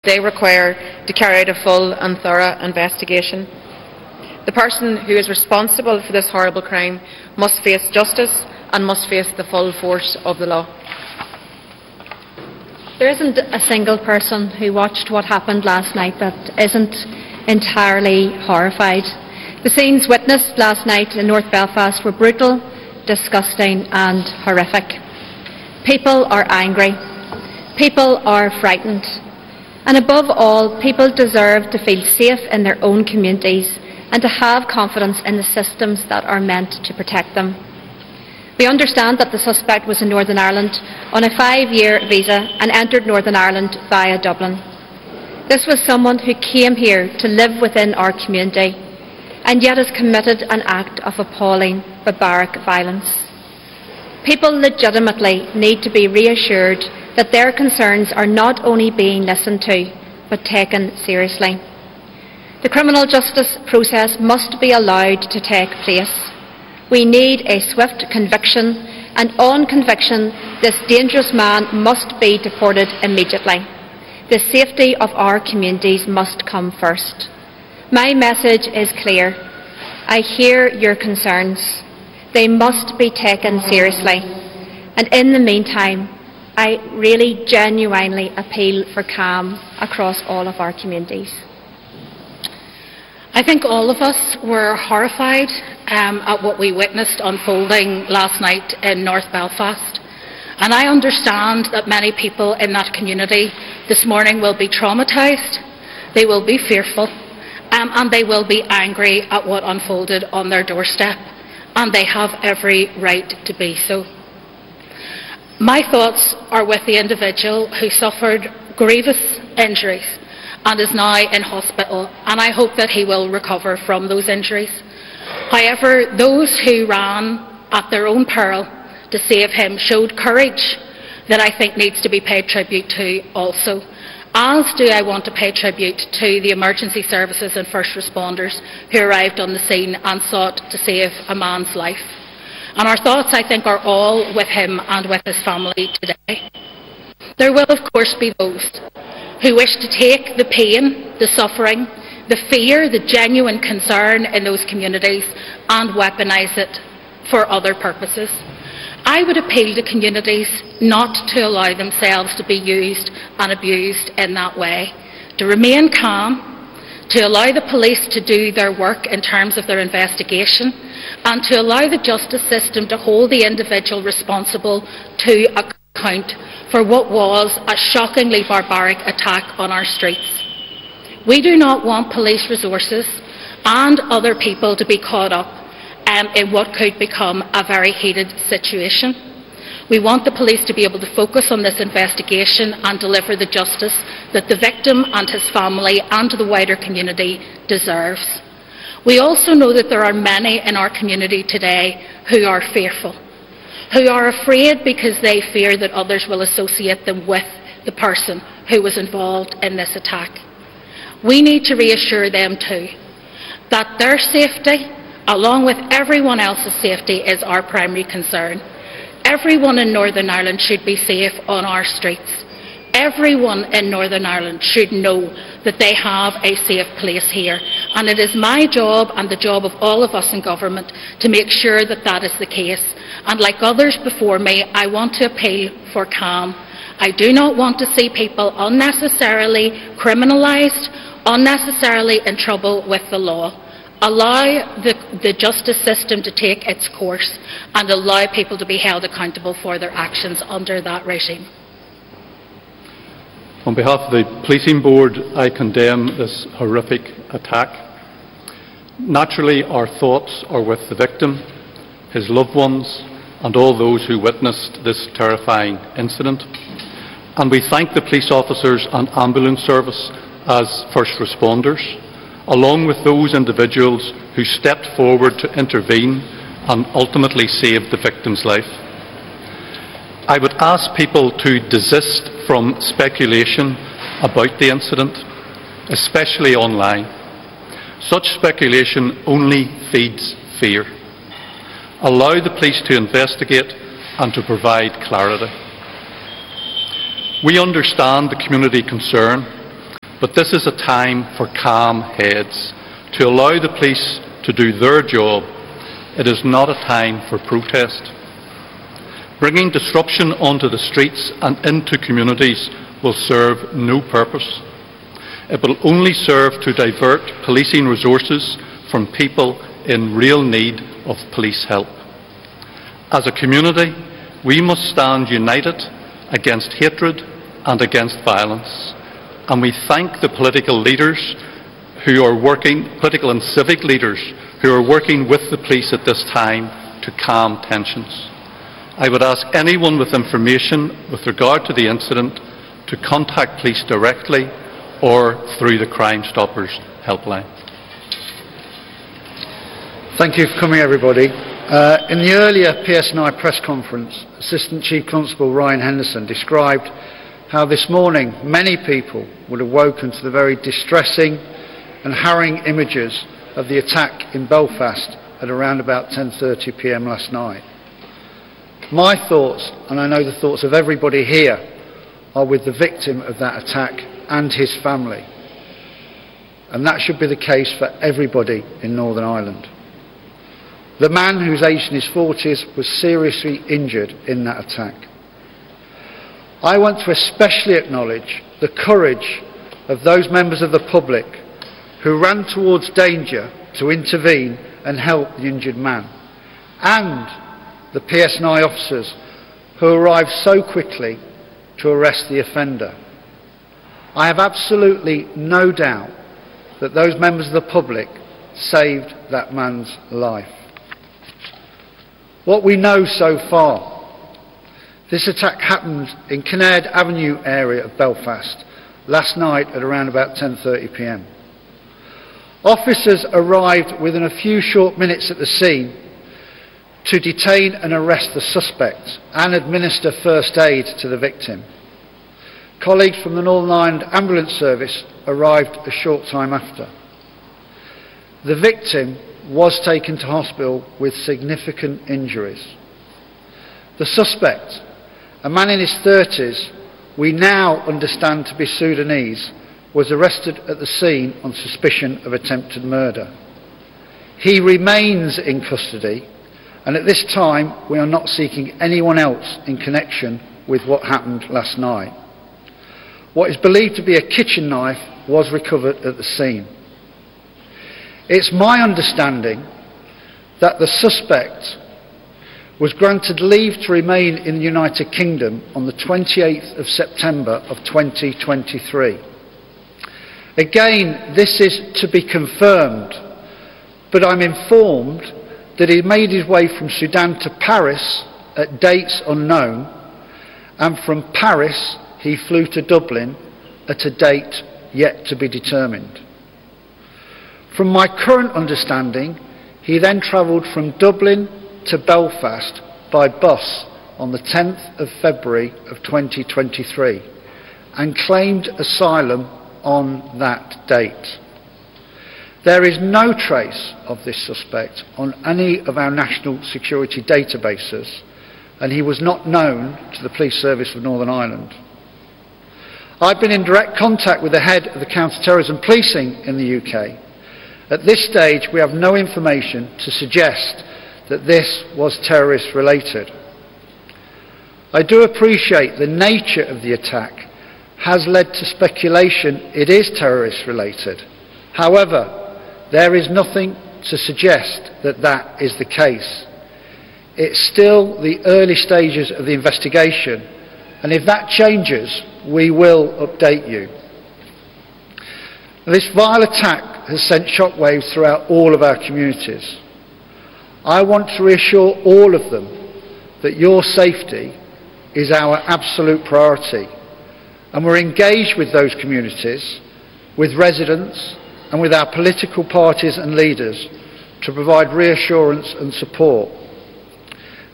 They require to carry out a full and thorough investigation. The person who is responsible for this horrible crime must face justice and must face the full force of the law. There isn't a single person who watched what happened last night that isn't entirely horrified. The scenes witnessed last night in North Belfast were brutal, disgusting and horrific. People are angry. People are frightened. And above all, people deserve to feel safe in their own communities and to have confidence in the systems that are meant to protect them. We understand that the suspect was in Northern Ireland on a 5-year visa and entered Northern Ireland via Dublin. This was someone who came here to live within our community and yet has committed an act of appalling, barbaric violence. People legitimately need to be reassured that their concerns are not only being listened to, but taken seriously. The criminal justice process must be allowed to take place. We need a swift conviction, and on conviction, this dangerous man must be deported immediately. The safety of our communities must come first. My message is clear. I hear your concerns. They must be taken seriously. And in the meantime, I really genuinely appeal for calm across all of our communities. I think all of us were horrified at what we witnessed unfolding last night in North Belfast. And I understand that many people in that community this morning will be traumatised, they will be fearful, and they will be angry at what unfolded on their doorstep. And they have every right to be so. My thoughts are with the individual who suffered grievous injuries and is now in hospital, and I hope that he will recover from those injuries. However, those who ran at their own peril to save him showed courage that I think needs to be paid tribute to also. As do I want to pay tribute to the emergency services and first responders who arrived on the scene and sought to save a man's life. And our thoughts, I think, are all with him and with his family today. There will, of course, be those who wish to take the pain, the suffering, the fear, the genuine concern in those communities and weaponise it for other purposes. I would appeal to communities not to allow themselves to be used and abused in that way, to remain calm, to allow the police to do their work in terms of their investigation, and to allow the justice system to hold the individual responsible to account for what was a shockingly barbaric attack on our streets. We do not want police resources and other people to be caught up in what could become a very heated situation. We want the police to be able to focus on this investigation and deliver the justice that the victim and his family and the wider community deserves. We also know that there are many in our community today who are fearful, who are afraid because they fear that others will associate them with the person who was involved in this attack. We need to reassure them too that their safety, along with everyone else's safety, is our primary concern. Everyone in Northern Ireland should be safe on our streets. Everyone in Northern Ireland should know that they have a safe place here. And it is my job and the job of all of us in government to make sure that that is the case. And like others before me, I want to appeal for calm. I do not want to see people unnecessarily criminalised, unnecessarily in trouble with the law. Allow the justice system to take its course and allow people to be held accountable for their actions under that regime. On behalf of the Policing Board, I condemn this horrific attack. Naturally, our thoughts are with the victim, his loved ones, and all those who witnessed this terrifying incident. And we thank the police officers and ambulance service as first responders, along with those individuals who stepped forward to intervene and ultimately saved the victim's life. I would ask people to desist from speculation about the incident, especially online. Such speculation only feeds fear. Allow the police to investigate and to provide clarity. We understand the community concern. But this is a time for calm heads, to allow the police to do their job. It is not a time for protest. Bringing disruption onto the streets and into communities will serve no purpose. It will only serve to divert policing resources from people in real need of police help. As a community, we must stand united against hatred and against violence. And we thank the political leaders who are working, political and civic leaders who are working with the police at this time to calm tensions. I would ask anyone with information with regard to the incident to contact police directly or through the Crime Stoppers helpline. Thank you for coming, everybody. In the earlier PSNI press conference, Assistant Chief Constable Ryan Henderson described how this morning many people would have woken to the very distressing and harrowing images of the attack in Belfast at around about 10:30 p.m. last night. My thoughts, and I know the thoughts of everybody here, are with the victim of that attack and his family. And that should be the case for everybody in Northern Ireland. The man, who's aged in his 40s, was seriously injured in that attack. I want to especially acknowledge the courage of those members of the public who ran towards danger to intervene and help the injured man, and the PSNI officers who arrived so quickly to arrest the offender. I have absolutely no doubt that those members of the public saved that man's life. What we know so far: this attack happened in Kinnaird Avenue area of Belfast last night at around about 10:30 p.m. Officers arrived within a few short minutes at the scene to detain and arrest the suspect and administer first aid to the victim. Colleagues from the Northern Ireland Ambulance Service arrived a short time after. The victim was taken to hospital with significant injuries. The suspect, a man in his 30s, we now understand to be Sudanese, was arrested at the scene on suspicion of attempted murder. He remains in custody, and at this time we are not seeking anyone else in connection with what happened last night. What is believed to be a kitchen knife was recovered at the scene. It's my understanding that the suspect was granted leave to remain in the United Kingdom on the 28th of September of 2023. Again, this is to be confirmed, but I'm informed that he made his way from Sudan to Paris at dates unknown, and from Paris he flew to Dublin at a date yet to be determined. From my current understanding, he then travelled from Dublin to Belfast by bus on the 10th of February of 2023 and claimed asylum on that date. There is no trace of this suspect on any of our national security databases, and he was not known to the Police Service of Northern Ireland. I've been in direct contact with the head of the counter-terrorism policing in the UK. At this stage, we have no information to suggest that this was terrorist related. I do appreciate the nature of the attack has led to speculation it is terrorist related. However, there is nothing to suggest that that is the case. It's still the early stages of the investigation, and if that changes, we will update you. This vile attack has sent shockwaves throughout all of our communities. I want to reassure all of them that your safety is our absolute priority, and we're engaged with those communities, with residents and with our political parties and leaders to provide reassurance and support.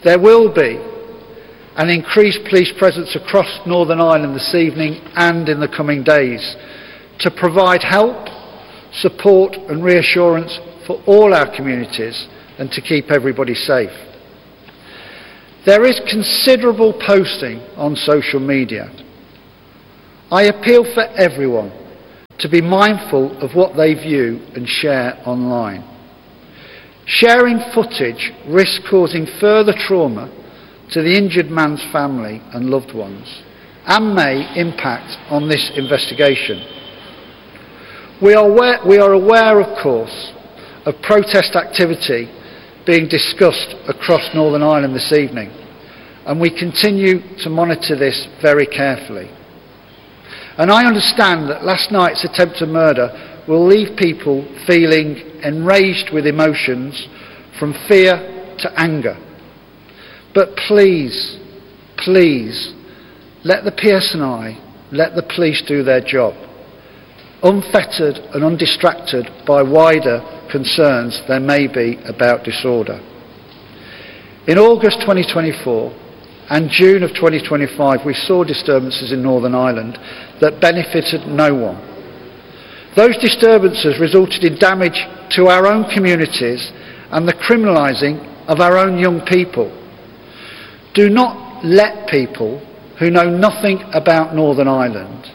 There will be an increased police presence across Northern Ireland this evening and in the coming days to provide help, support and reassurance for all our communities and to keep everybody safe. There is considerable posting on social media. I appeal for everyone to to be mindful of what they view and share online. Sharing footage risks causing further trauma to the injured man's family and loved ones and may impact on this investigation. We are aware, of course, of protest activity being discussed across Northern Ireland this evening, and we continue to monitor this very carefully. And I understand that last night's attempted murder will leave people feeling enraged with emotions from fear to anger. But please, please, let the PSNI, let the police do their job, unfettered and undistracted by wider concerns there may be about disorder. In August 2024 and June of 2025, we saw disturbances in Northern Ireland that benefited no one. Those disturbances resulted in damage to our own communities and the criminalising of our own young people. Do not let people who know nothing about Northern Ireland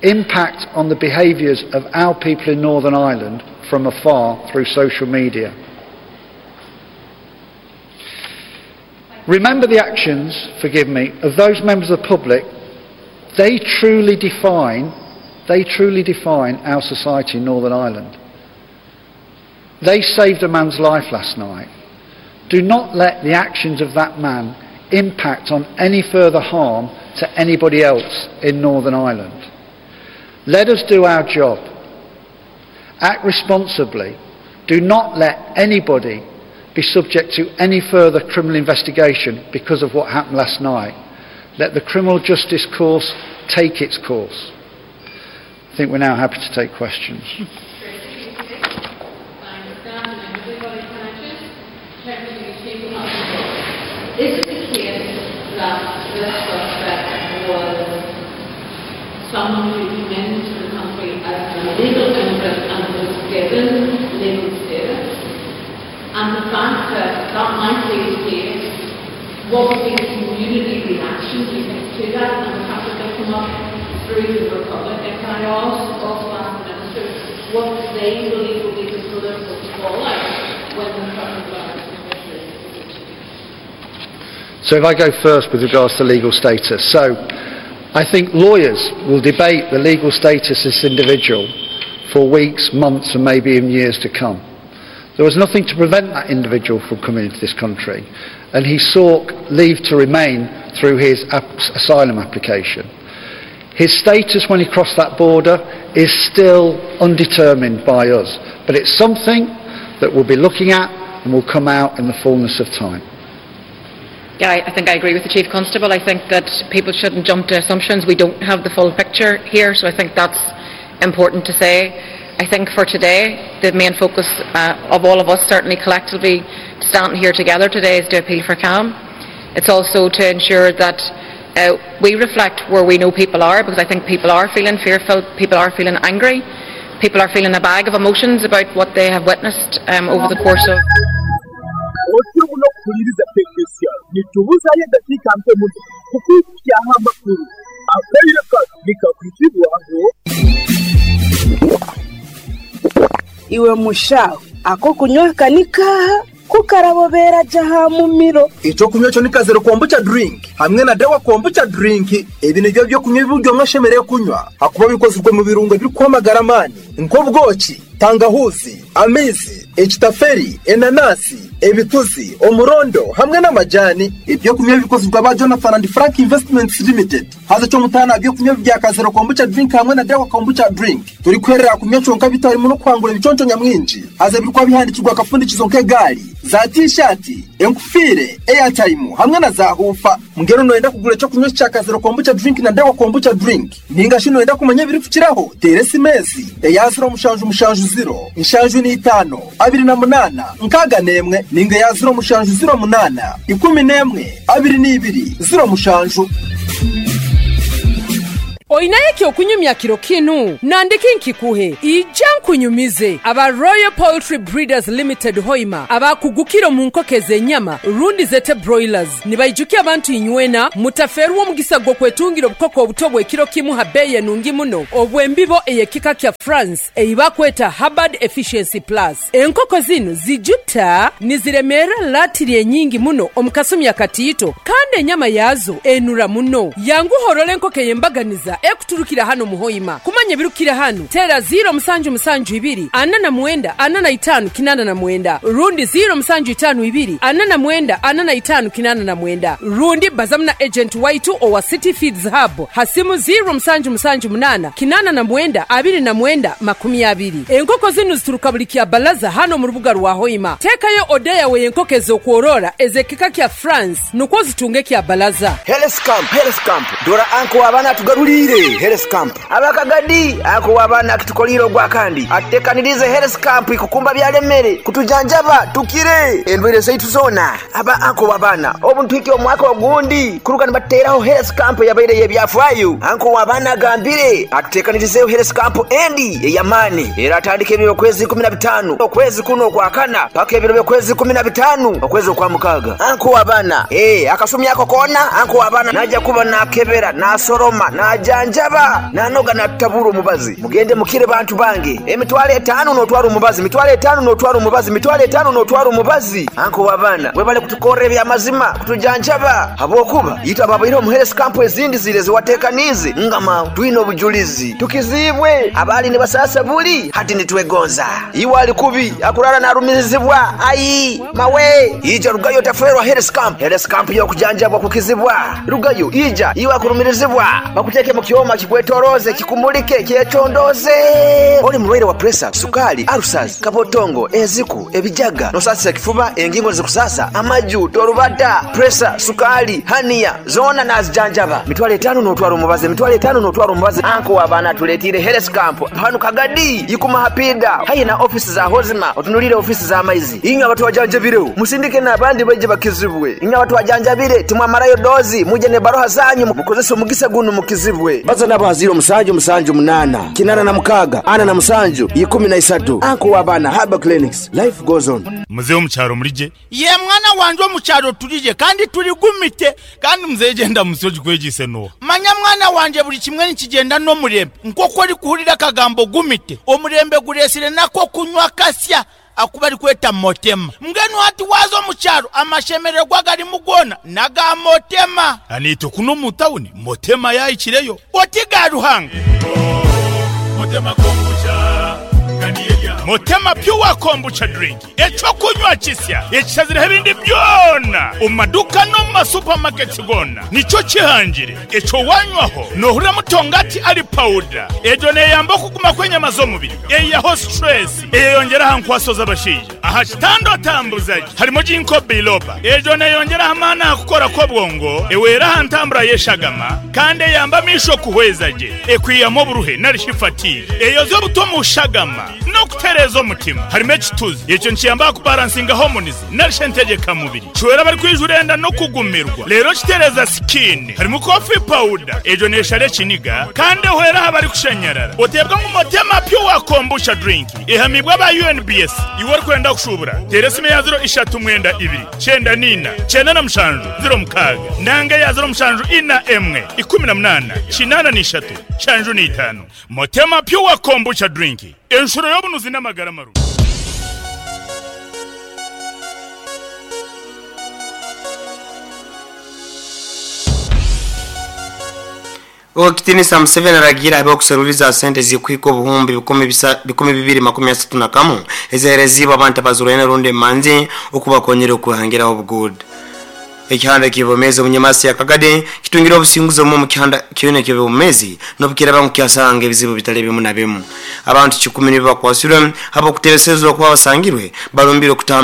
impact on the behaviours of our people in Northern Ireland from afar through social media. Remember the actions, forgive me, of those members of the public. They truly define our society in Northern Ireland. They saved a man's life last night. Do not let the actions of that man impact on any further harm to anybody else in Northern Ireland. Let us do our job. Act responsibly. Do not let anybody be subject to any further criminal investigation because of what happened last night. Let the criminal justice course take its course. I think we're now happy to take questions. Is it the case that this suspect was someone who came into the country as an illegal immigrant and was given legal status? And the fact that that might be the case, what would be the community reaction, do you think, to that? And the fact that they come up through the Republic, and can I also ask the Minister what they believe will be the political fallout when the current government? So if I go first with regards to legal status. So I think lawyers will debate the legal status of this individual for weeks, months and maybe even years to come. There was nothing to prevent that individual from coming into this country, and he sought leave to remain through his asylum application. His status when he crossed that border is still undetermined by us, but it's something that we'll be looking at and will come out in the fullness of time. Yeah, I think I agree with the Chief Constable. I think that people shouldn't jump to assumptions. We don't have the full picture here, so I think that's important to say. I think for today, the main focus of all of us, certainly collectively standing here together today, is to appeal for calm. It's also to ensure that we reflect where we know people are, because I think people are feeling fearful, people are feeling angry, people are feeling a bag of emotions about what they have witnessed over the course of... Iwe mushaho ako kunywa kanikaha kukarabobera jaha mumiro ico kunywa cyo nikazero kombucha drink hamwe na dawa kombucha drink. Ebi nibyo byo kunywa ibiryo mwashemereye kunywa hakuba bikozwe mu birungo biri kwamagara mani nk'ubwoki, tangahuzi, amizi, ekitaferi, enanasi, ebituzi, omurondo hamwe n'amajani. Ibyo kunywa bikozwe ba Jonathan and Frank Investments Limited. Haza cyo mutana byo kunywa bya kazero kombucha drink hamwe na dawa kombucha drink. Turi kwerera kunywa conka bitari mu no kwangura ibiconco nyamwinji. Haza birikwa bihandikirwa akafundikizo nk'egari, za t-shirt, enkufire, airtime hamwe na za hufa. Mungero noenda kugura cyo kunywa cya kazero kombucha drink na dawa kombucha drink. Ninga shino enda kumanya biri kukiraho. Teresi mezi eya 0 mushanju mushanju 0 inshanju ni 5 28 nkaga nemwe ninga ya 0 mushanju 0 8 11 22 0 mushanju. Oinayo eky'okunyumya kiro kinu? Nandiki nkikuhe? Ija nkunyumize. Aba Royal Poultry Breeders Limited Hoima abakugukire omu nkoko ez'enyama rundi zete broilers nibaijukya abantu inywena mutafeerwa omugisa gw'okwetungira obukoko obuto obw'ekiro kimu ha bbeeyi enungi muno obw'embibo ey'ekika kya France ei bakweta Hubbard Efficiency Plus. Enkoko zinu zijuta niziremeera latiri enyingi muno omu kasumi akatiito kandi enyama yaazo enura muno. Yanguha orole enkoko ey'embaganiza ekuturukira hanu omu Hoima. Kumanya ebirukukira hanu, teera ziiro musanju musanju ibiri ana na mwenda ana na itaanu kinaana na mwenda rundi ziiro musanju itaanu ibiri ana na mwenda ana na itaanu kinaana na mwenda rundi bazamu na ejenti waitu owa City Feeds Hub ha simu ziiro musanju musanju munaana kinaana na mwenda abiri na mwenda 20. Enkoko zinu zituruka buli Kyabalaza hanu omu rubuga rwa Hoima. Teekayo oda yawe ey'enkoko ez'okworora ez'ekika kya France nukwo ozitunge Kyabalaza. Health Camp, Health Camp, dora anko w'abaana atugaruliire Health Camp. Abakagadi, anko w'abaana akitukoliire ogwakandi, atutekaniriize Health Camp ikukumba byalemere, kutujanjaba tukire endwaire zaitu zoona. Aba anko w'abaana, obu nituhikya omwaka ogundi kuruga nibatuteraho Health Camp eyabaire ey'ebyafaayo. Anko w'abaana agambire atutekanirizeeho Health Camp endi ey'amaani eratandika ebiro by'okwezi 15 okwezi kunu okwakana paka ebiro by'okwezi 15 okwezi okwamukaaga. Anko w'abaana, Ee, akasumi ako koona anko w'abaana naija kuba naakebera, naasoroma, naajanjaba, naanoga naatutabura omubazi. Mugende mukire bantu bange. Emitwalo etaano nootwara omubazi, mitwalo etaano nootwara omubazi, mitwalo etaano nootwara omubazi. Anko w'abaana, webale kutukorra eby'amazima, kutujanjaba habwokuba itwe abaabaireho omu health camp ezindi ziri ezi wateekaniize ngama twine obujulizi. Tukiziibwe abaali nibasaasa buli hati nitwegonza. Iwe ali kubi akurara narumirizibwa ai mawe ija rugayo otafeerwa health camp. Health camp y'okujanjabwa kukizibwa. Rugayo ija iwe akurumirizibwa bakuteeke mu kyoma kikwetoroze kikumulike kyecondoze. Oli mulwaire wa presa, sukali, ulcers, kabotongo, enziku, ebijaga, nosasisa ekifuba, engingo nizikusasa, amaju, torubata, presa, sukali, hania zoona nazijanjaba. Mitwalo etaano notwara omubazi, emitwalo etaano notwara omubazi. Anko w'abaana atuleetiire health camp hanu Kagadi ikuma hapida haihi na ofisi za Hozima otunulire ofisi z'amaizi. Inywe abatwajanjabireho musindike n'abandi baije bakizibwe. Inywe abatwajanjabire timwamarayo dozi muje n'ebaroha zanyu mukozese omugisa gunu mukizibwe. Baza nabo ha ziiro musanju musanju munaana kinaana na mukaaga ana na musanju ikumi na isatu. Anko w'abaana Herbal Clinics, life goes on. Muzei omu kyaro murigye? Ye mwana wangye omu kyaro turigye kandi turigumite. Kandi muzei egyo endamutsyo ogikwegyeise n'oha? Manya mwana wangye buri kimwe nikigyenda n'omurembe. Nk'oku orikuhurira akagambo gumite, omurembe gureetsire n'ak'okunywa kasya aku barikweta Motema. Mbwenu hati waaza omu kyaro amashemererwa agarimu goona n'aga Motema. Naitwe kunu omu tawuni Motema yaahikireyo. Oti ga Ruhanga! Motema Pure Kombucha Drink, eky'okunywa kisya ekishazireho ebindi byona omu maduuka n'omu ma supermarkets goona nikyo kihangire. Ekyo wanywaho nohurira mutongati ari pawuda. Egyo neyamba okuguma kw'enyama z'omubiri, eyihaho stress, eyeyongyera aha nkwaso z'abashaija. Aha kitanda otambuza gye harimu Ginkgo biloba. Egyo neyongyera aha maani aha kukora kw'obwongo, ehwera aha ntambura y'eshagama kandi eyamba amaisho kuhweza gye, ekwihamu oburuhe nari shi fatigue, eyoza obuto omu shagama n'okutereeza omutima. Harimu ekituzi, ekyo nikiyamba aha kubaransinga hormones nari shi entegyekamubiri. Kihwera abarikwijura enda n'okugumirwa reero kitereeza sikiini. Harimu coffee powder, egyo neeshara ekiniga kandi ehwera aha barikushanyarara. Oteebwa ngu Motema Pure Kombucha Drink ehamiibwe aba UNBS. Iwe orikwenda kushuubura, teera esimu eya ziro ishatu mwenda ibiri, kyenda na ina, kyenda na mushanju, ziro mukaaga nanga eya ziro mushanju ina emwe, ikumi na munaana, kinaana na ishatu, nshanju na itaano. Motema Pure Kombucha Drink, enshuro y'obunuzi n'amagara marungi. Owekitinisa Museveni aragiire habeho okuseruliza sente ezikuhika obuhumbi 231 ezihereziibwe abantu abazurwaine rundi emanzi okubakonyera okwehangiraho obuguuda. Ekihanda eky'ebyomeezi omunyamasi ya Kagadi kitungire obusinguzi omu mukihanda kyona eky'ebyomeezi nobukiraaba ngu kyasanga ebizibu bitali bimu na bimu. Abantu kikumi nibo bakwasirwe habw'okutebeserezibwa kuba basangirwe barumbire okutaaha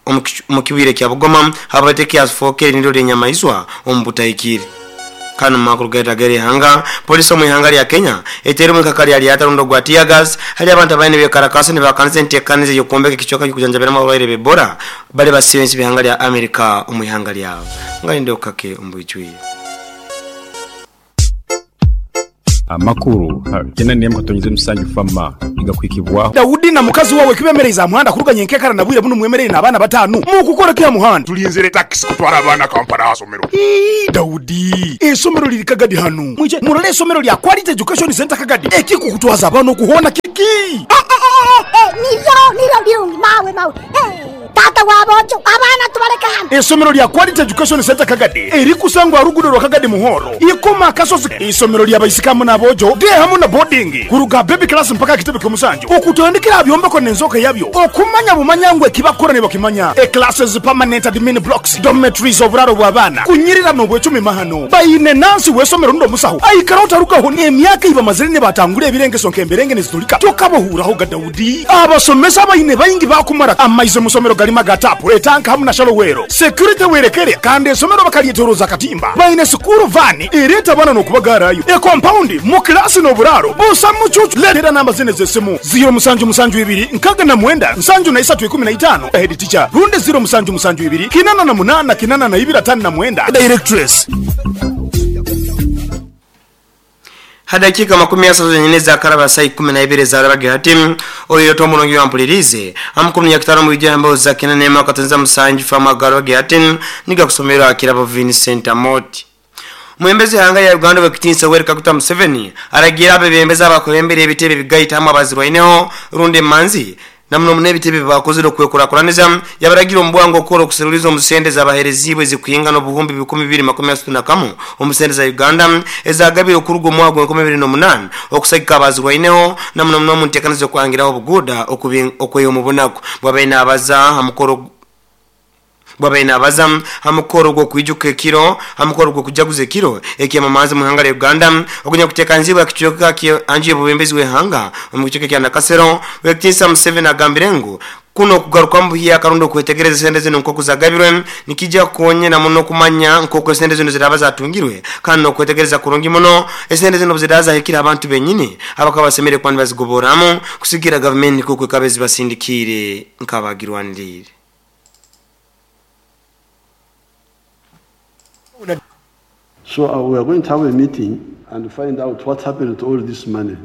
omu omu kibwire kya Bugoma habwate kyafokere niryo ly'enyamaiswa omu butahikire. Kandi omu makuru gaitu ag'erihanga, Poliisi omu ihanga lya Kenya eteire omwika lya lyata rundi ogwa tear gas hali abantu abaine nibekarakaasa nibahakanisa enteekaniza ey'okwombeka ekicweka ky'okujanjabiramu abarwaire b'Ebola bali basibe ensi b'ihanga lya America omu ihanga lyabo. Nga nindeho kake omu bwijwire. Amakuru ha kina n'emu katonyeze musanju fama nigakuhikibwaho. Daudi na mukazi wawe kibemereize aha muhanda kuruga nyenkekara na bwire bunu mwemereire n'abaana batanu? Mukukora ki aha muhanda? Tulinzire takisi kutwara abaana Kampala aha somero. Ii, Daudi, eisomero liri Kagadi hanu. Mwije murole eisomero lya Quality Education Centre Kagadi. Ekikukutwaza abaana oku hoona kiki? Niryo, niryo birungi, mawe, mawe. Taata w'aboojo, abaana tubaleke hanu. Eisomero lya Quality Education Centre Kagadi erikusangwa aha ruguudo rwa Kagadi Muhoro, Ikoma Akasozi. Eisomero lya baisiki hamu n'aboojo, day hamu na boarding, kuruga aha baby class mpaka aha kitebe ky'omusanju, okutandikira aha byombeko n'enzooka yabyo, okumanya bumanya ngu ekibakukora nibakimanya. E Classes, permanent admin blocks, dormitories, oburaaro bw'abaana, kunyirira n'obwecumi mahano. Baine nansi w'eisomero rundi omusaho aikaraho tarugaho n'emyaka ei bamazire nibatangura ebirengeso nk'emberenge nizitulika. Tokabahuuraho ga Daudi. Abasomesa abaine baingi baakumara amaizi omu somero garimu aga taapu, etanka hamu na shallow well. Security werekere kandi esomero bakaryetoroza akatimba. Baine sikuuru vaani ereeta abaana n'okubagaarayo. Ekompaundi, mu kilaasi n'oburaaro busa mucuucu. Leetera namba zinu ez'esimu, ziiro musanju musanju ibiri nkaga na mwenda nsanju na isatu ikumi na itaano, Head teacher, rundi ziiro musanju musanju ibiri kinana na munaana kinana na ibiri atano na mwenda, Directress. Ha dakiika makumi asatu zenyini ezakaraba saa ikumi naibiri ezarabage hati, oyo Tom Mulungi wampuliriize amakumi nyakitano mu bijambo za kinana emu akatonza musanju famu agarabage hati nigakusomerwa Kirabo Vincent Amoti. Omwebembezi w'eihanga rya Uganda Ow'ekitiinisa Yoweri Kaguta Museveni aragiire abebembezi abakurembera ebitebe ebigaita hamwe abazirwaineho rundi emanzi na muno muno ebitebe ebi baakozire okwekurakuraniza yabaragira omu bwangu okukora okuseruliza omu sente ezabahereziibwe ezikuhingana obuhumbi bikumi bibiri makumi asatu na kamu omu sente za Uganda ezagabirwe okuruga omu mwaka gwa enkumi ibiri n'omunaana okusagika abazirwaineho na muno muno omu nteekaniza y'okuhangiraho obuguuda okweha omu bunaku bwabaire naabaza aha mukoro Bwabaire naabaza aha mukoro gw'okwijuka ekiro aha mukoro gw'okujaguza ekiro eky'amamanzi omu ihanga rya Uganda ogunyakuteekaniziibwe aha kicweka kya nju y'obwebembezi bw'eihanga omu kicweka ekya Nakasero, Owekitiinisa Museveni agambire ngu kunu okugarukamu buhyaka rundi okwetegereza esente zinu nk'oku zagabirwe nikija kukonyera muno kumanya nk'oku esente zinu ziraaba zatungirwe kandi n'okwetegereza kurungi muno esente zinu obuziraaba zahikire abantu benyini abakaba basemeriire kuba nibazigoborramu kusigikirra gavumenti nk'oku ekaba ezibasindikiire nk'abagirwaniriire. So we are going to have a meeting and find out what happened to all this money.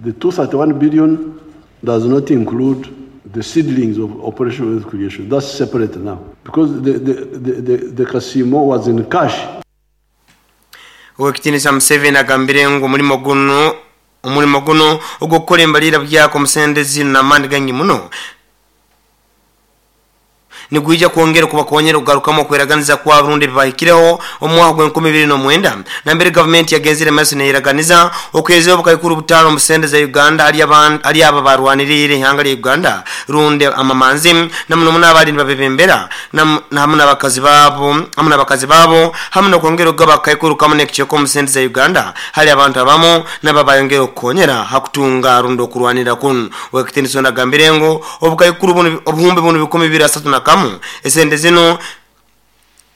The 231 billion does not include the seedlings of Operation Wealth Creation. That's separate now. Because the Kasimo was in cash. Owekitiinisa Museveni agambire ngu omulimo gunu omulimo gunu ogw'okukora embaliira buhyaka omu sente zinu n'amaani gaingi muno Nigwija kwongera kubakonyera okugarukamu okweraganiza kwabo rundi ebibahikireho omu mwaka gw'enkumi ibiri n'omwenda nambere gavumenti yagenzire maiso neyeraganiza okuheezayo obukaikuru butaano omu sente za Uganda hali hali abo abarwaniriire ihanga lya Uganda rundi amamanzi na muno muno abaali nibabebembera na hamu n'abakazi baabo hamu n'abakazi baabo hamu n'okwongera okugaba akakaikuru kamu n'ekicweka omu sente za Uganda hali abantu abamu nabo abayongera okukonyera ha kutunga rundi okurwanirra kunu. Ow'ekitiinisa onu agambire ngu obukaikuru bunu obuhumbi bunu 231 esente zinu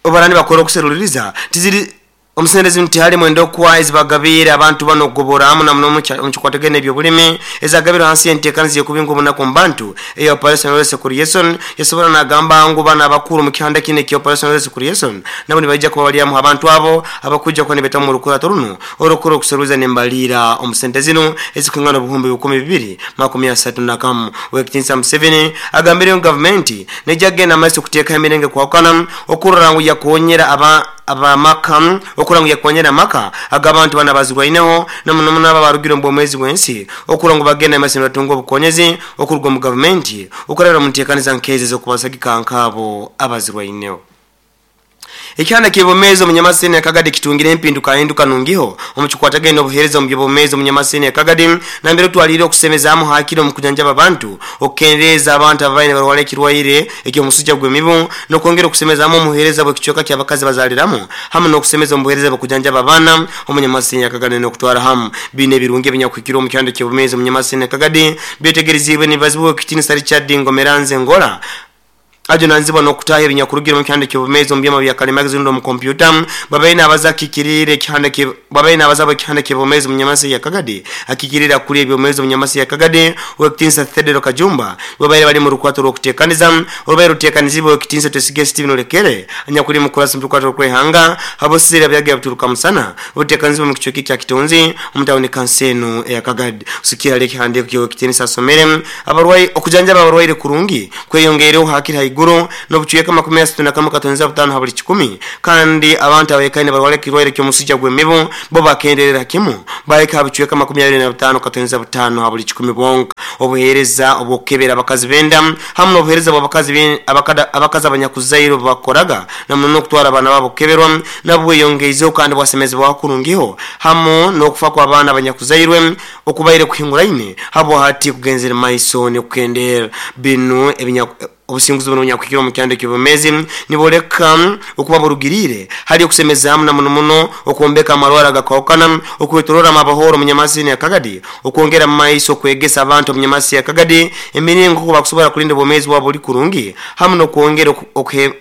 obu nibakora okuseruliriza tiziri omu sente zinu tihalimu endokwa ezibagabiire abantu banu okugoborramu na muno omu kikwatagaine n'eby'obulimi ezagabirwe hansi y'enteekaniza y'okubinga obunaku omu bantu eya Operation Wealth Creation. Yasobora nagamba ngu banu abakuru omu kihanda kinu ekya Operation Wealth Creation nabo nibaija kuba bali hamu h'abantu abo abakwija kuba nibetamu omu rukurato runu orukukora okuseruliza n'embaliira omu sente zinu ezikwingana obuhumbi 231. Owekitiinisa Museveni agambire ngu gavumenti neija kugenda mumaiso kuteekaho emiringo ekwahukana okurora ngu yakonyera aba ab'amaka okurora ngu yakonyera amaka ag'abantu banu abazirwaineho na muno muno abo abarugire omu bwomeezi bw'ensi okurora ngu bagenda mumaiso nibatunga obukonyezi okuruga omu gavumenti okurabira omu nteekaniza nk'ezi ez'okubasagika nk'abo abazirwaineho. Ekihanda ky'ebyomeezi omu Nyamasini ya Kagadi kitungire empindukahinduka nungiho omu kikwatagaine n'obuheereza omu by'obwomeezi omu Nyamasini ya Kagadi nambere otwaliire okusemezaamu hakire omu kujanjaba abantu, okukendeeza abantu ababaire nibarwara ekirwaire eky'omusujja gw'emibu n'okwongera okusemezaamu omu buheereza bw'ekicweka ky'abakazi bazaaliramu hamu n'okusemeza omu buheereza bw'okujanjaba abaana omu Nyamasini ya Kagadi n'okutwara hamu biine ebirungi ebinyakuhikirwe omu kihanda ky'obwomeezi omu Nyamasini ya Kagadi byetegeriziibwe nibazibwa Owekitiinisa Richard Ngomeranze Ngora. Ajunanizibwa n'okutaaha ebinyakurugire omu kihanda ky'obumezi omu byoma bya kalimagezi rundi omu kompyuta babaire nabaza akikiriire ekihanda babaire nabaza ekihanda ky'obumezi omu nyamasi ya Kagadi akikiriire akuriire eby'obumezi omu nyamasi ya Kagadi Owekitinisa Thedero Kajumba babaire bali mu rukwato rw'okutekaniza orubaire rutekanizibwe Owekitinisa Twesige Stephen Olekere anyakuli mukurasi mu rukwato rw'okwehanga habosizire abyaga bituruka musana obutekanizibwe mu kicweka ekya Kitonzi omu tawuni kanso enu eya Kagadi kusikira hali ekihandiiko ky'Owekitinisa asomere abarwaire okujanjaba abarwaire kurungi kweyongeireho hakiri haiguru n'obucweka 31 katonza 5 ha buli kikumi kandi abantu abaikaire nibarwara ekirwaire ky'omusujja gw'emibu bo bakenderera kimu bahika ha bucweka 25 katonza 5 ha buli kikumi bwonka. Obuheereza obw'okukebera abakazi b'enda hamu n'obuheereza bw'abakazi abakazi abanyakuzaire obu bakukoraga na muno n'okutwara abaana baabo kukeberwa nabwo bweyongeizeho kandi bwasemezebwaho kurungiho hamu n'okufa kw'abaana abanyakuzairwe okubaire kuhinguraine habwa hati kugenzere maiso nikukendeera. Binu ebinya Obusinguzi bunu obunyakuhikire omu kyando eky'obwomeezi nibooleka okuba burugiriire hali okusemezaamu na muno muno okwombeka amarwaro agakwahukana, okwetoroora amabohooro omu nyamasi ya Kagadi, okwongera mu maiso okwegesa abantu omu nyamasi ya Kagadi emiringo nk'oku bakusobora kulinda obwomeezi bwabo buli kurungi hamu n'okwongera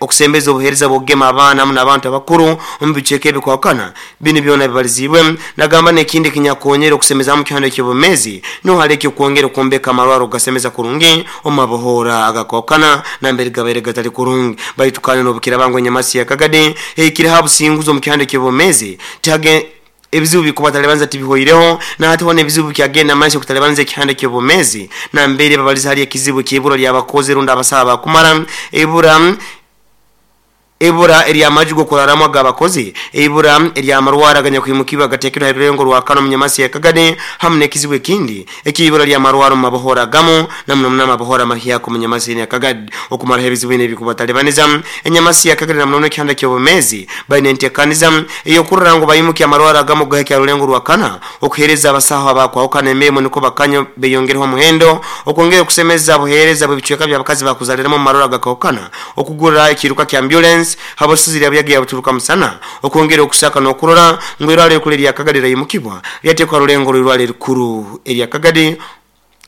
okusembeza obuheereza bw'okugema abaana hamu n'abantu abakuru omu bicweka ebikwahukana. Binu byona bibaliziibwe, nagamba n'ekindi ekinyakukonyera okusemezaamu kihanda eky'obwomeezi nuho hali eky'okwongera okwombeka amarwaro kugasemeza kurungi omu mabohoora agakwahukana nambere gabaire gatali kurungi. Baitu kandi n'obukiraaba ngu enyamasi ya Kagadi ehikireho abusinguzi omu kihanda eky'obwomeezi, tihage ebizibu bikubatalibanza tibihoireho, na hati hoona ebizibu bikyagenda maiso kutalibanza ekihanda eky'obwomeezi nambere babaliza hali ekizibu eky'ibura ly'abakozi rundi abasaho abakumara ibura. Ibura ery'amaju g'okuraramu ag'abakozi, eibura ery'amarwaro aganyakwimukibwa agateekerwe ha rulengo rwa kana omu nyamasi ya Kagadi hamu n'ekizibu ekindi eky'eibura ly'amarwaro omu mabohora agamu na muno muno amabohora amahyaka omu nyamasi enu ya Kagadi. Okumaraho ebizibu binu ebikubatalibaniza, enyamasi ya Kagadi na muno muno ekihanda ky'obumeezi baine entekaniza ey'okurora ngu baimukya amarwaro agamu kugahikya ha rulengo rwa kana okuheereza abasaho abakwahukana emirimo nukwo bakanye beyongereho omuhendo, okwongera okusemeza obuheereza bw'ebicweka by'abakazi bakuzaliramu omu marwaro agakwahukana. Okugura ekiiruka kya ambyulensi habw'esozi lya Buyaga ya Buturuka Musana, okwongera okusaka n'okurora ngu eirwaro erikuru erya Kagadi lyaimukibwa lyateekwa ha rulengo rw'eirwaro erikuru erya Kagadi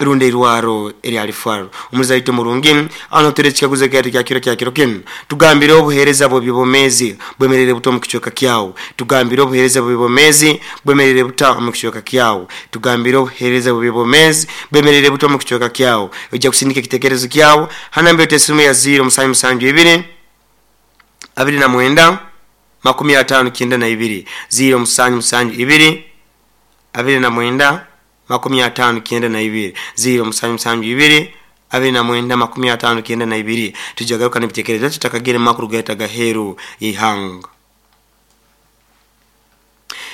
rundi eirwaro erya Lifwaro. Omuzaito murungi, aho niho tuteera ekikaguzo kyaitu kya kiro kya kiro kinu. Tugambire obuheereza bw'eby'obwomeezi bwemereire buta omu kicweka kyawe? Tugambire obuheereza bw'eby'obwomeezi bwemereire buta omu kicweka kyawe? Tugambire obuheereza bw'eby'obwomeezi bwemereire buta omu kicweka kyawe? Oija kusindika ekitekerezo kyawe Ha namba yaitu esimu ya ziiro musanju musanju ibiri, abiri na mwenda, makumi ataano kyenda na ibiri. Ziiro musanju musanju ibiri, abiri na mwenda, makumi ataano kyenda na ibiri. Ziiro musanju musanju ibiri, abiri na mwenda, makumi ataano kyenda na ibiri. Twija garuka n'ebitekerezo byaitu tutakagenda mu makuru gaitu ag'aheeru y'eihanga.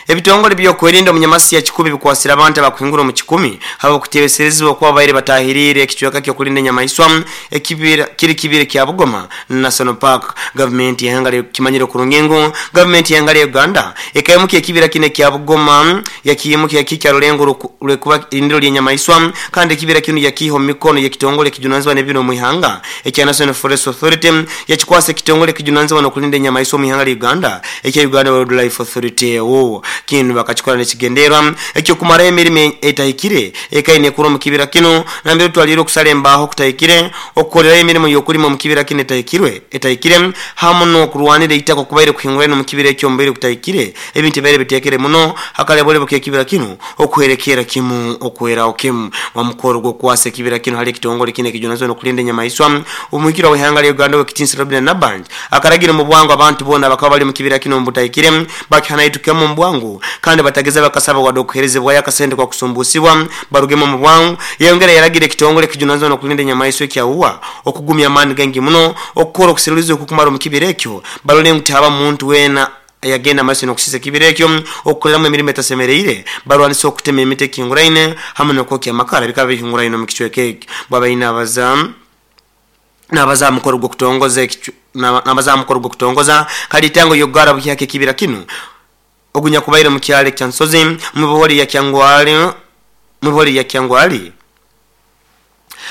Ebitongole by'okwerinda omu nyamasi ya Kikubi bikwasire abantu abakuhingura omu kikumi habw'okuteebeserezibwa okuba babaire batahiriire ekicweka ky'okulinda enyamaiswa ekibira kiri kibira kya Bugoma National Park. Gavumenti y'eihanga lya Kimanyire kurungi ngu gavumenti y'eihanga lya Uganda ekaimukya ekibira kinu ekya Bugoma yakiimukya yakihikya rulengo rw'okuba irindiro ly'enyamaiswa kandi ekibira kinu yakiiha omu mikono y'ekitongole ekijunanizibwa n'ebibira omu ihanga ekya National Forest Authority yakikwasa ekitongole ekijunanizibwa n'okulinda enyamaiswa omu ihanga lya Uganda ekya Uganda Wildlife Authority. Wo kinu bakakikora n'ekigendererwa eky'okumaraho emirimo etahikire ekaine ekura omu kibira kinu nambere otwaliire okusara embaaho okutahikire, okukorerayo emirimo y'okulima omu kibira kinu etahikirwe etahikire hamu n'okurwanira eitaka okubaire kuhinguraine omu kibira ekyo omu bwire butahikire. Ebintu ebibaire biteekere muno hakaleboolebo k'ekibira kinu okuhwerekerra kimu okweraho kimu. Omukoro gw'okukwasa ekibira kinu hali ekitongole kinu ekijunanizibwa n'okulinda enyamaiswa, omuhikirwa w'eihanga lya Uganda Owekitinisa Robinah Nabbanja akaragira omu bwangu abantu boona abakaba bali omu kibira kinu omu butahikire bakihanaitukemu omu bwangu kandi batageza bakasaba wadde okuherezebwayo akasente k'okusumbuusibwa barugemu omu bwangu. Yayongera yaragira ekitongole ekijunanizibwa n'okulinda enyamaiswa ekya UWA okugumya amaani gaingi muno okukora okuseruliza okukumara omu kibira ekyo barole ngu tihaba muntu weena Yagenda maiso n'okusiisa ekibira ekyo, okukoleramu emirimo etasemereire, barwanisa okutema emiti ekihinguraine hamu n'okwokya amakara bikaba bihinguraine omu kicweka ekyo. Bwabaire nabaza nabaza ha mukoro gw'okutongoza nabaza ha mukoro gw'okutongoza kalitango y'okugara buhyaka ekibira kinu ogunyakubaire omu kyaro ekya Nsozi omu buhori ya Kyangwali mu buhori ya Kyangwali.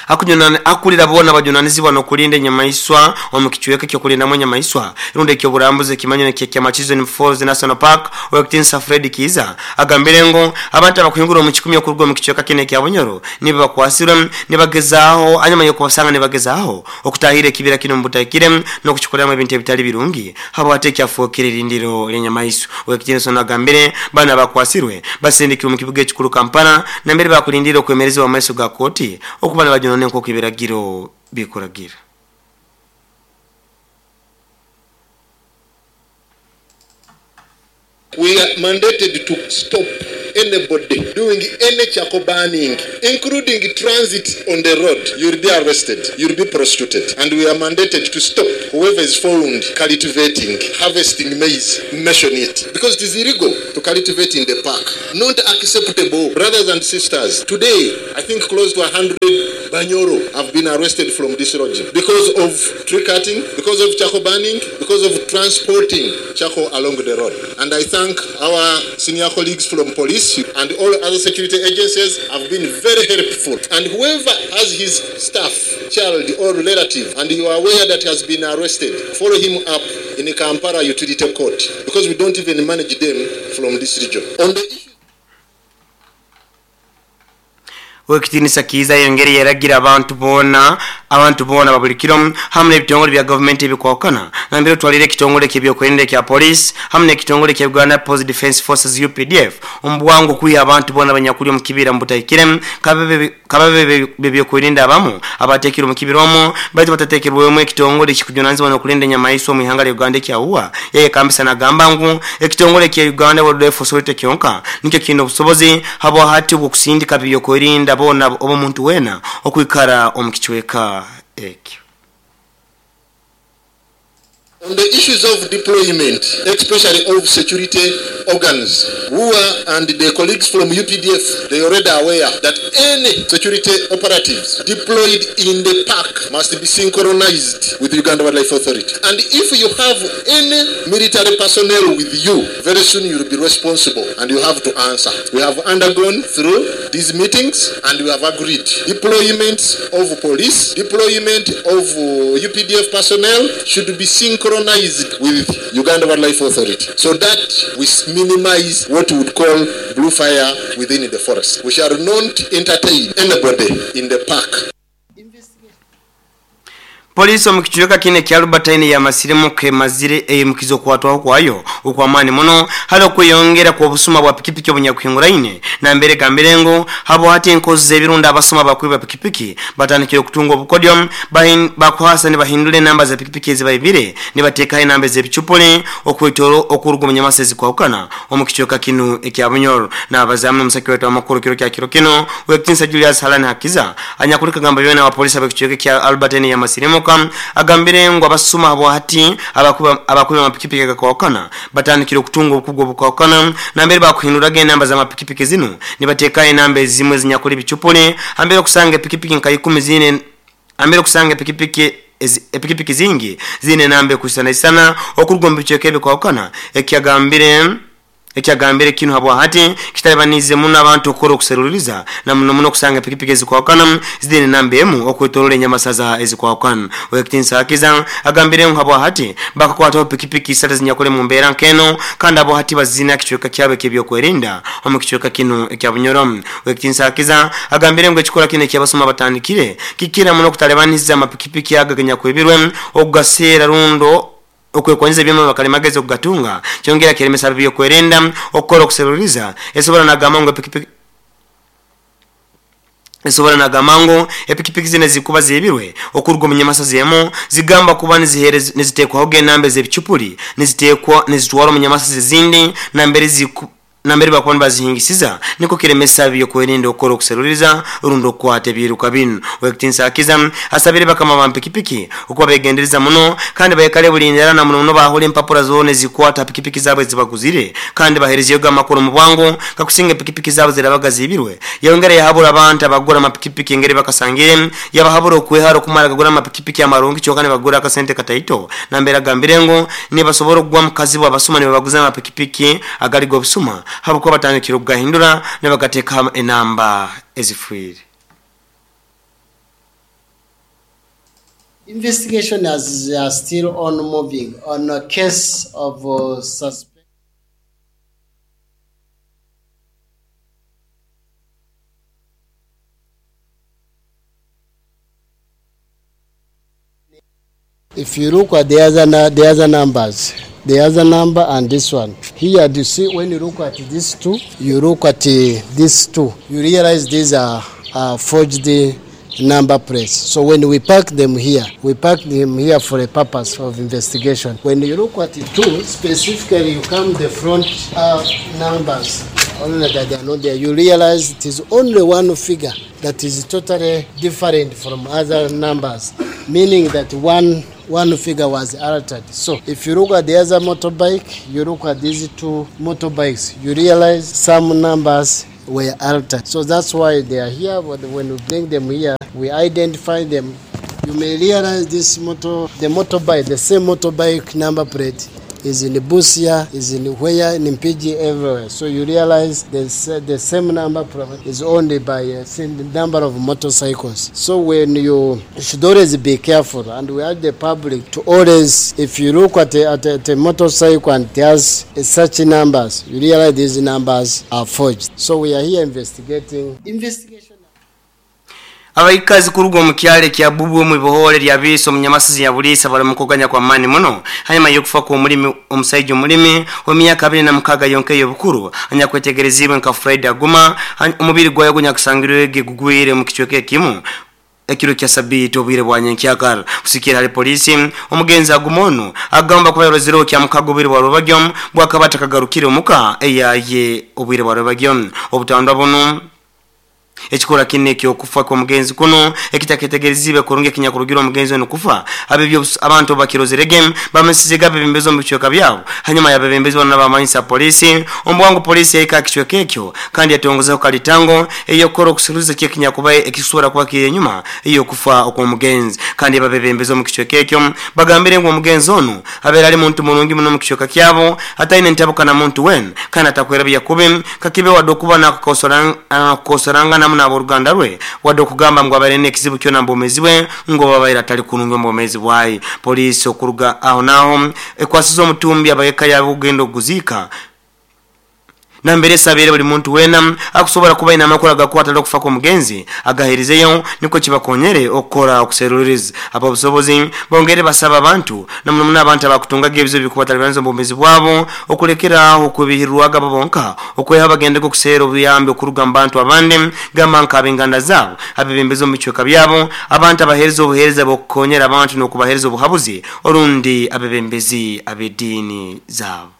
Akulira boona bajunanizibwa n'okulinda enyamaiswa omu kicweka ekyokulindamu enyamaiswa rundi ekyoburambuzi ekimanyire kya Murchison Falls National Park Owekitinisa Fred Kiiza agambire ngu abantu abakuhingura omu kikumi okuruga omu kicweka kinu ekya Bunyoro nibo bakwasirwe nibagezaaho anyuma y'okubasanga nibagezaaho okutahira ekibira kinu omu butahikire n'okukikoreramu ebintu ebitali birungi habwate ekyafuukire erindiro ly'enyamaiswa. Owekitinisa ono agambire banu abakwasirwe basindikirwe omu kibuga ekikuru Kampala nambere bakulindira okwemerezibwa omu maiso ga kooti okuba nibajunanwa nk'oku ebiragiro bikuragira. We are mandated to stop anybody doing any charcoal burning, including transit on the road. You will be arrested, you will be prosecuted. And we are mandated to stop whoever is found cultivating, harvesting maize, mention it. Because it is illegal to cultivate in the park. Not acceptable. Brothers and sisters, today, I think close to 100 Banyoro have been arrested from this region because of tree cutting, because of charcoal burning, because of transporting charcoal along the road. And I thank our senior colleagues from police and all other security agencies have been very helpful. And whoever has his staff, child or relative, and you are aware that has been arrested, follow him up in the Kampala Utility Court, because we don't even manage them from this region. On the Owekitinisa Kiiza yongere yeragira abantu boona babulikiro hamwe n'ebitongole bya gavumenti ebikwakana nambere otwalire ekitongole ky'ebyokwerinda ekya police hamwe n'ekitongole kya Uganda People's Defence Forces UPDF omu bwangu okwiha abantu boona abanyakuli omu kibira omu butahikire kababe bebyokwerinda abamu abateekire omu kibira omwo baitu batateekebwemu ekitongole ekikujunanizibwa n'okulinda enyamaiswa omu ihanga lya Uganda ekya UWA. Yayekambisa nagamba ngu ekitongole kya Uganda Wildlife Authority kyonka nikyo kiine obusobozi habwa hati obw'okusindika byokwerinda boona omuntu wena okwikara omu kicweka ekyo. On the issues of deployment, especially of security organs, WUA and the colleagues from UPDF, they already aware that any security operatives deployed in the park must be synchronized with Uganda Wildlife Authority. And if you have any military personnel with you, very soon you will be responsible and you have to answer. We have undergone through these meetings and we have agreed. Deployment of police, deployment of UPDF personnel should be synchronized with Uganda Wildlife Authority, so that we minimize what we would call blue fire within the forest. We shall not entertain anybody in the park. Polisi omu kicweka kine kya Albertine yamasiremu kemazire eyimukizo kwatwaho kwayo okwamani muno hali okweyongera kwa obusuma bwa pikipiki obunyakuhinguraine nambere gambire ngu habo hati enkozi z'ebirunda abasuma bakwiba pikipiki batandikire okutunga obukodyo bakuhasa nibahindura enamba za pikipiki ezibaibire nibateekaho enamba ez'ebicupuli okwetoro okuruga omu nyamasa ezikwahukana omu kicweka kinu ekya Bunyoro. N'abazaamu n'omusaki waitu w'amakuru kiro kya kiro kino Owekitinisa Julius Halani Hakiza anyakuli kagamba byona wa polisi ab'ekicweka kya Albertine yamasiremu agambire ngu abasuma abo hati abakuba amapikipiki agakwahukana batandikire okutunga obukugu obukwahukana nambere bakuhinduraga enamba z'amapikipiki zinu nibateekaho enamba ezimwe ezinyakuli ebicupuli ambere okusanga epikipiki nka 10 zine ambere okusanga epikipiki zingi zine enamba ekusanaisana okuruga omu bicweka ebikwahukana. Ekyagambire kinu habwa hati kitalibanize muno abantu okukora okuseruliriza na muno muno okusanga pikipiki ezikwahukana zine namba emu okwetorola enyamasaza ezikwahukana. Owekitinisa Hakiza agambire ngu habwa hati bakakwataho pikipiki isatu ezinyakuli mu mbeera nk'eno kandi abo hati bazina kicweka kyabo eky'ebyokwerinda omu kicweka kinu ekya Bunyoro. Owekitinisa Hakiza agambire ngu ekikora kinu ekyabasuma batandikire kikira muno okutalibaniza amapikipiki aga ganyakwibirwe okugaseera rundo okwekwanyiza ebyoma bakalimagezi okugatunga kyongera kiremesa byokwerinda okukora okuseruriza. Esobora nagamba ngu epikipiki zine zikuba zibirwe okuruga omu nyamasa zemu zigamba kuba nizitekwaho enamba ez'ebicupuli nizitekwa nizitwara omu nyamasa ezindi nambere bakuba nibazihingisiza niko kiremesa byokwerinda okukora okuseruriza rundi okukwata ebiruka binu. Owekitinisa Hakiza asabire bakama ba pikipiki okuba begendereza muno kandi baikale bulindera na muno muno bahura empapura zoona ezikwata pikipiki zaabo ezibaguzire kandi baherezeyo amakuru mu bwangu kakusinga epikipiki zaabo zirabaga zibirwe. Yongera yahabura abantu abagura amapikipiki engeri bakasangire yabahabura okwehara okumara gagura amapikipiki amarungi kyonka nibagura akasente kataito nambere agambire ngu nibasobora okugwa mu kazibu abasuma nibabaguza amapikipiki agali g'obusuma habukuba batandikire okugahindura nibagateeka enamba ezifiire. Investigation is still on moving on a case of suspect. If you look at the other numbers, the other number and this one. Here, you see, when you look at these two, you look at these two, you realize these are forged number plates. So when we park them here, we park them here for a purpose of investigation. When you look at the two, specifically you come the front numbers, only that they are not there, you realize it is only one figure that is totally different from other numbers, meaning that one figure was altered. So if you look at the other motorbike, you look at these two motorbikes, you realize some numbers were altered. So that's why they are here. But when we bring them here, we identify them. You may realize this the motorbike, the same motorbike number plate is in Busia, is in Where, in Mpigi, everywhere. So you realize the same number is only by the number of motorcycles. So when you should always be careful, and we urge the public to always, if you look at a motorcycle and it has such numbers, you realize these numbers are forged. So we are here investigating. Investigation. Abaikazi kuruga mu kyale kya Bubu mu bohole lya biso munyamasizi ya bulisa bali mukoganya kwa mani muno hanyuma yokufa ku mulimi omusajja omulimi w'emyaka 26 yonke yobukuru anyakwetegerezibwe nka Fred Aguma omubiri gwayo gunyakusangirwe gugwire mu kichweke ekimu ekiro kya sabiti obwire bwa nyenkyakara kusikira hali polisi omugenzi Agumono agamba kuba yorozero kya mukago obwire bwa Rubagyo bwakabata kagarukire omuka eyaye obwire bwa Rubagyo obutandwa buno ekikora kinne kyo kufa kwa mugenzi kuno ekitaketegerezibe kurunge kinyakurugira omugenzi ono kufa abebyo abantu bakirozerege bamesize gabe bimbezo mu bichweka byabo hanyuma yabebembezi bana bamanyisa polisi ombwangu polisi yaika kichweka ekyo kandi yatongoza kalitango eyokoro kusuruza kye kinyakuba ekisura kwa kire nyuma iyo kufa okwo mugenzi kandi babebembezo mu kichweka ekyo bagambire ngo omugenzi ono abera ali muntu mulungi muno mu kichweka kyabo ataine ntabuka na muntu wen kandi atakwera byakube kakibe wadokuba na kosoranga na boruganda rwe wado kugamba ngo abarene ekizibu kyo na mbomezi we ngo babaira atali kununga mbomezi bwayi polisi okuruga aho naho ekwasizo omutumbi abayeka yabugendo guzika nambere sabere buli muntu wena akusobora kuba ina makora gakwata lokufa ko mugenzi agaherizeyo niko kibakonyere okora okuseruriza abo busobozi bongere basaba abantu namuno abantu abakutunga gebizo bikubatali banzo mbomezi bwabo okulekera okubihirwaga babonka okweha bagende ko kusera obuyambe okuruga mbantu abande gamba nkabenganda zabo abebembezo mu bichweka byabo abantu abahereza obuhereza bokonyera abantu nokubahereza obuhabuzi orundi abebembezi abedini zabo.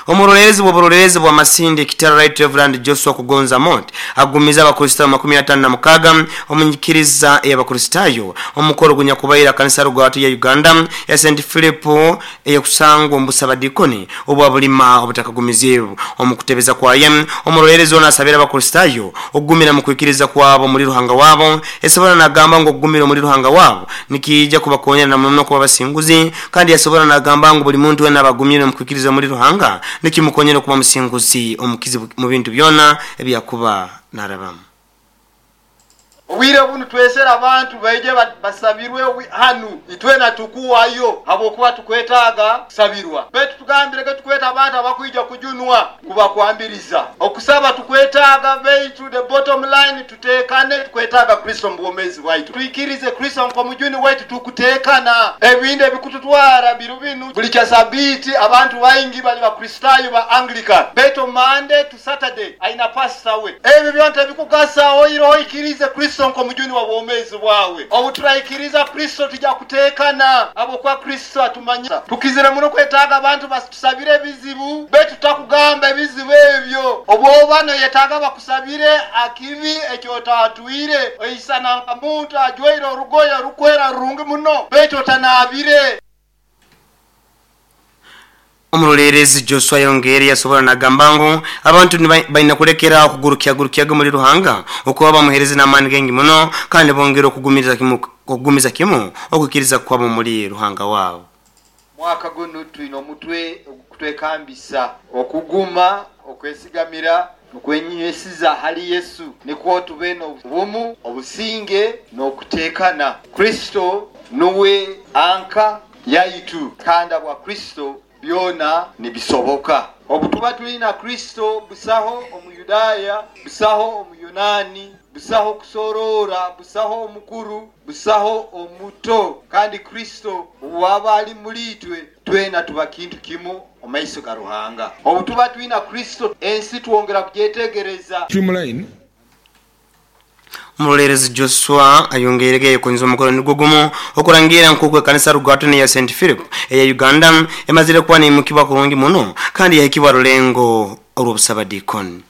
Omurorerezi bw'oburorerezi bwa Masindi Kitara Right Reverend Joshua Kugonza Mont agumiza abakristo 56 omunyikiriza y'abakristayo omukoro gunyakubaira kanisa rugwatu ya Uganda ya St Philip eyokusangwa ombusabadikoni obwa bulima obutakagumizibu omukutebeza kwa yem omurorerezi ona asabira abakristayo ogumira mu kwikiriza kwabo muri ruhanga wabo esobora nagamba ngo ogumira muri ruhanga wabo nikija kubakonyera namuno kuba basinguzi kandi yasobora nagamba ngo buli muntu wena abagumire mu kwikiriza muri ruhanga nikimukonyera kuba musinguzi omukizi mu bintu byona ebyakuba narabamu. Obwire bunu twesera abantu baije basabirwe hanu itwena tukuwayo habokuba tukwetaaga sabirwa betu tugambire ke tukweta abantu abakwija kujunwa kuba kwambiriza okusaba tukwetaaga beitu the bottom line tutekane tukwetaaga Kristo mbwomezi waitu tuikirize Kristo nko mujuni wetu tukutekana ebinde ebikututwara birubinu buli kya sabiti abantu baingi bali bakristayo ba Anglican beto Monday to Saturday aina pastor we ebyo byonta bikugasa oiro ikirize Kristo nko mujuni wa bwomezi bwawe obuturaikiriza Kristo tujja kutekana abo kwa Kristo atumanya tukizira muno kwetaaga abantu batusabire ebizibu betu takugamba ebizibu ebyo obwobano yetaaga bakusabire akibi ekyotatwire oisana muntu ajwaire orugoya rukwera rurungi muno betu otanabire. Omurorerezi Joshua Yongere yasobora nagambango abantu baina kulekera okugurukya gurukyaga muri ruhanga okuba bamuhereze n'amani gengi muno kandi bongera okugumiza kimu okukiriza kwabo muri ruhanga wabo. Mwaka guno twino omutwe ogutwekambisa okuguma okwesigamira Okwenywesiza hali Yesu nikwo tube n'obumu, obusinge n'okuteekana. Kristo nuwe anka yaitu, kandi habwa Kristo byona nibisoboka. Obu tuba tuli na Kristo, busaho Omuyudaaya, busaho Omuyunaani, busaho kusoroora, busaho omukuru, busaho omuto, kandi Kristo obu aba ali muli itwe, twena tuba kintu kimu omu maiso ga Ruhanga. Obu tuba twina Kristo, ensi twongera kugyetegereza. Streamline. Omuroleerezi Joshua ayongeirege yayekunyiza omukoro nigwo gumu okurangiira nk'oku ekanisa Rugaatoni eya St Philip eya Uganda emazire kuba neimukibwa kurungi muno kandi yahikibwa rulengo orw'obusabadiikoni.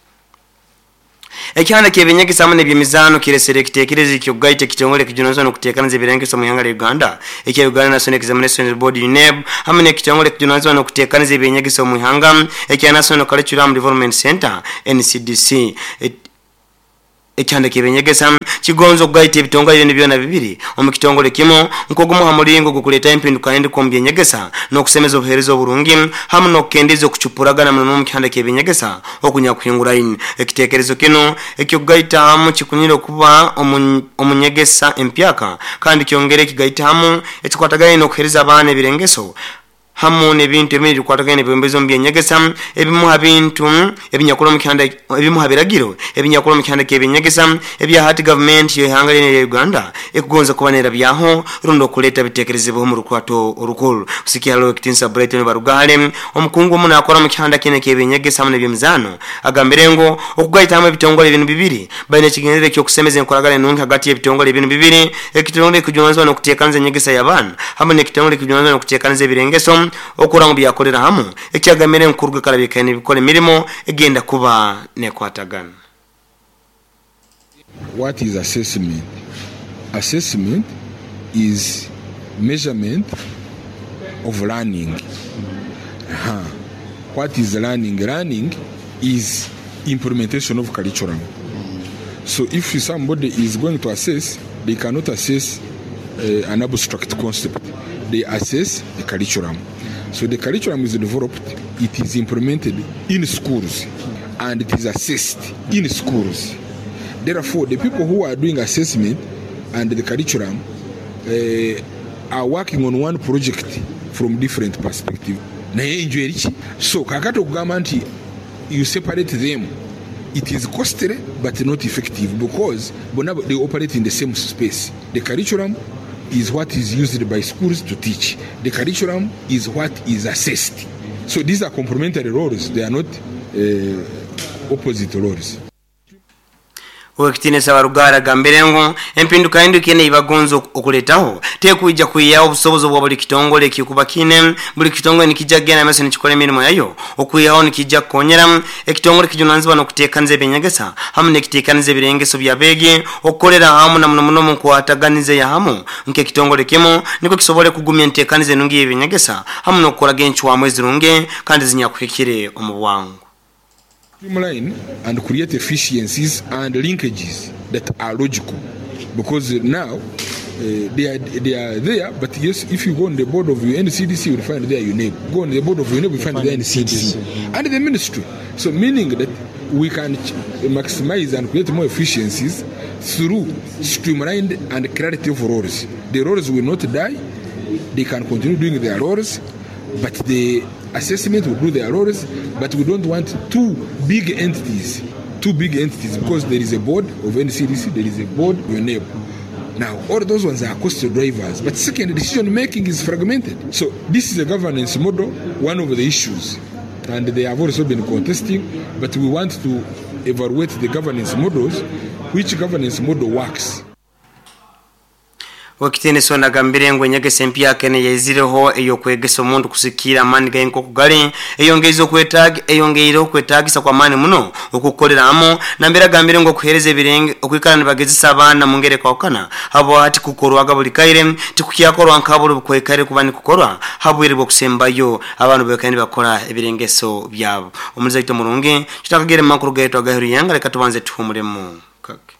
Ekihanda ky'eby'enyegesa hamu n'eby'emizaano kiresere ekitekerezo eky'okugaita ekitongole ekijunanizibwa n'okuteekaniza ebirengeso omu ihanga lya Uganda ekya Uganda National Examinations Board, UNEB, hamu n'ekitongole ekijunanizibwa n'okuteekaniza eby'enyegesa omu ihanga ekya National Curriculum Development Centre, NCDC. Ekihanda ky'eby'enyegesa kigonza okugaita ebitongole binu byona bibiri omu kitongole kimu nk'ogumu ha mulingo gw'okuleetaho empindukahinduka omu by'enyegesa n'okusemeza obuheereza oburungi hamu n'okukendeeza okucupuragana muno omu kihanda ky'eby'enyegesa okunyakuhinguraine. Ekiteekerezo kinu eky'okugaita hamu kikunyire okuba omu nyegesa empyaka kandi kyongere kigaite hamu ekikwatagaine n'okuheereza abaana ebirengeso hamu n'ebintu ebindi ebikwatagaine n'ebwebembezi omu by'enyegesa. Ebimu ha bintu ebinyakuli omu kihanda ebimu ha biragiro ebinyakuli omu kihanda ky'eby'enyegesa ebya hati gavumenti y'ihanga lyona erya Uganda ekugonza kuba n'erabyaho rundi okuleeta biteekerezebweho omu rukurato orukuru. Kusikiira hali Owekitinisa Brighton Barugahare, omukungu omu naakora omu kihanda kinu eky'eby'enyegesa hamu n'eby'emizaano agambire ngu okugaita hamu ebitongole binu bibiri baine ekigendererwa eky'okusemeza enkoragana enungi hagati y'ebitongole binu bibiri Ekitongole ekijunanizibwa n'okuteekaniza enyegesa y'abaana hamu n'ekitongole ekijunanizibwa n'okuteekaniza ebirengeso okurora ngu byakolera hamu, ekyagamire ngu kuruga kara bikaire nibikora emirimo egenda kuba n'ekwatagana. What is assessment? Assessment is measurement of learning. Aha. What is learning? Learning is implementation of curriculum. So if somebody is going to assess, they cannot assess an abstract concept. They assess the curriculum. So the curriculum is developed, it is implemented in schools, and it is assessed in schools. Therefore, the people who are doing assessment and the curriculum are working on one project from different perspective. Naye enju eri ki? So kakati okugamba nti you separate them, it is costly but not effective because bona they operate in the same space. The curriculum is what is used by schools to teach. The curriculum is what is assessed. So these are complementary roles, they are not opposite roles. Owekitiinisa Barugahara agambire ngu empindukahinduka enu eibagonza okuletaho tekwija kwihaho obusobozi obwa buli kitongole ekikuba kiine. Buli kitongole nikija kugenda mumaiso nikikora emirimo yayo okwihaho nikija kukonyera ekitongole ekijunanizibwa nokutekaniza eby'enyegesa hamu nekitekaniza ebirengeso by'abeegi okukolera hamu na muno muno omunkwataganiza eyahamu nk'ekitongole kimu nikwo kisobole kugumya entekaniza enungi ey'eby'enyegesa hamu nokukoraga encwamu ezirungi kandi ezinyakuhikire omu bwangu. Streamline and create efficiencies and linkages that are logical because now they are, they are there but yes if you go on the board of UNCDC you will find there UNEB go on the board of UNEB you find there NCDC and the ministry so meaning that we can maximize and create more efficiencies through streamlined and clarity of roles the roles will not die they can continue doing their roles but the assessment will do their roles but we don't want two big entities two big entities because there is a board of NCDC there is a board of UNEB now all those ones are cost drivers but second decision making is fragmented so this is a governance model one of the issues and they have also been contesting but we want to evaluate the governance models which governance model works. Owekitiinisa onu agambire ngu enyegesa empyaka enu eyaizireho ey'okwegesa omuntu kusikiira amaani ge nk'oku gali eyongeireho okwetaagisa kw'amaani muno okw'okukolera hamu. Nambere agambire ngu okuheereza ebirenge okwikara nibagezesa abaana mungeri ekwahukana habwa tikukorwaga buli kaire tikukyakorwa nka buli obukwaikaire kuba nikukorwa ha bwire bw'okusembayo abantu baikaire nibakora ebirengeso byabo. Omulizi waitu omurungi tutakagere mu makuru gaitu agaheru y'ihanga leka tubanze tuhumulemu kake.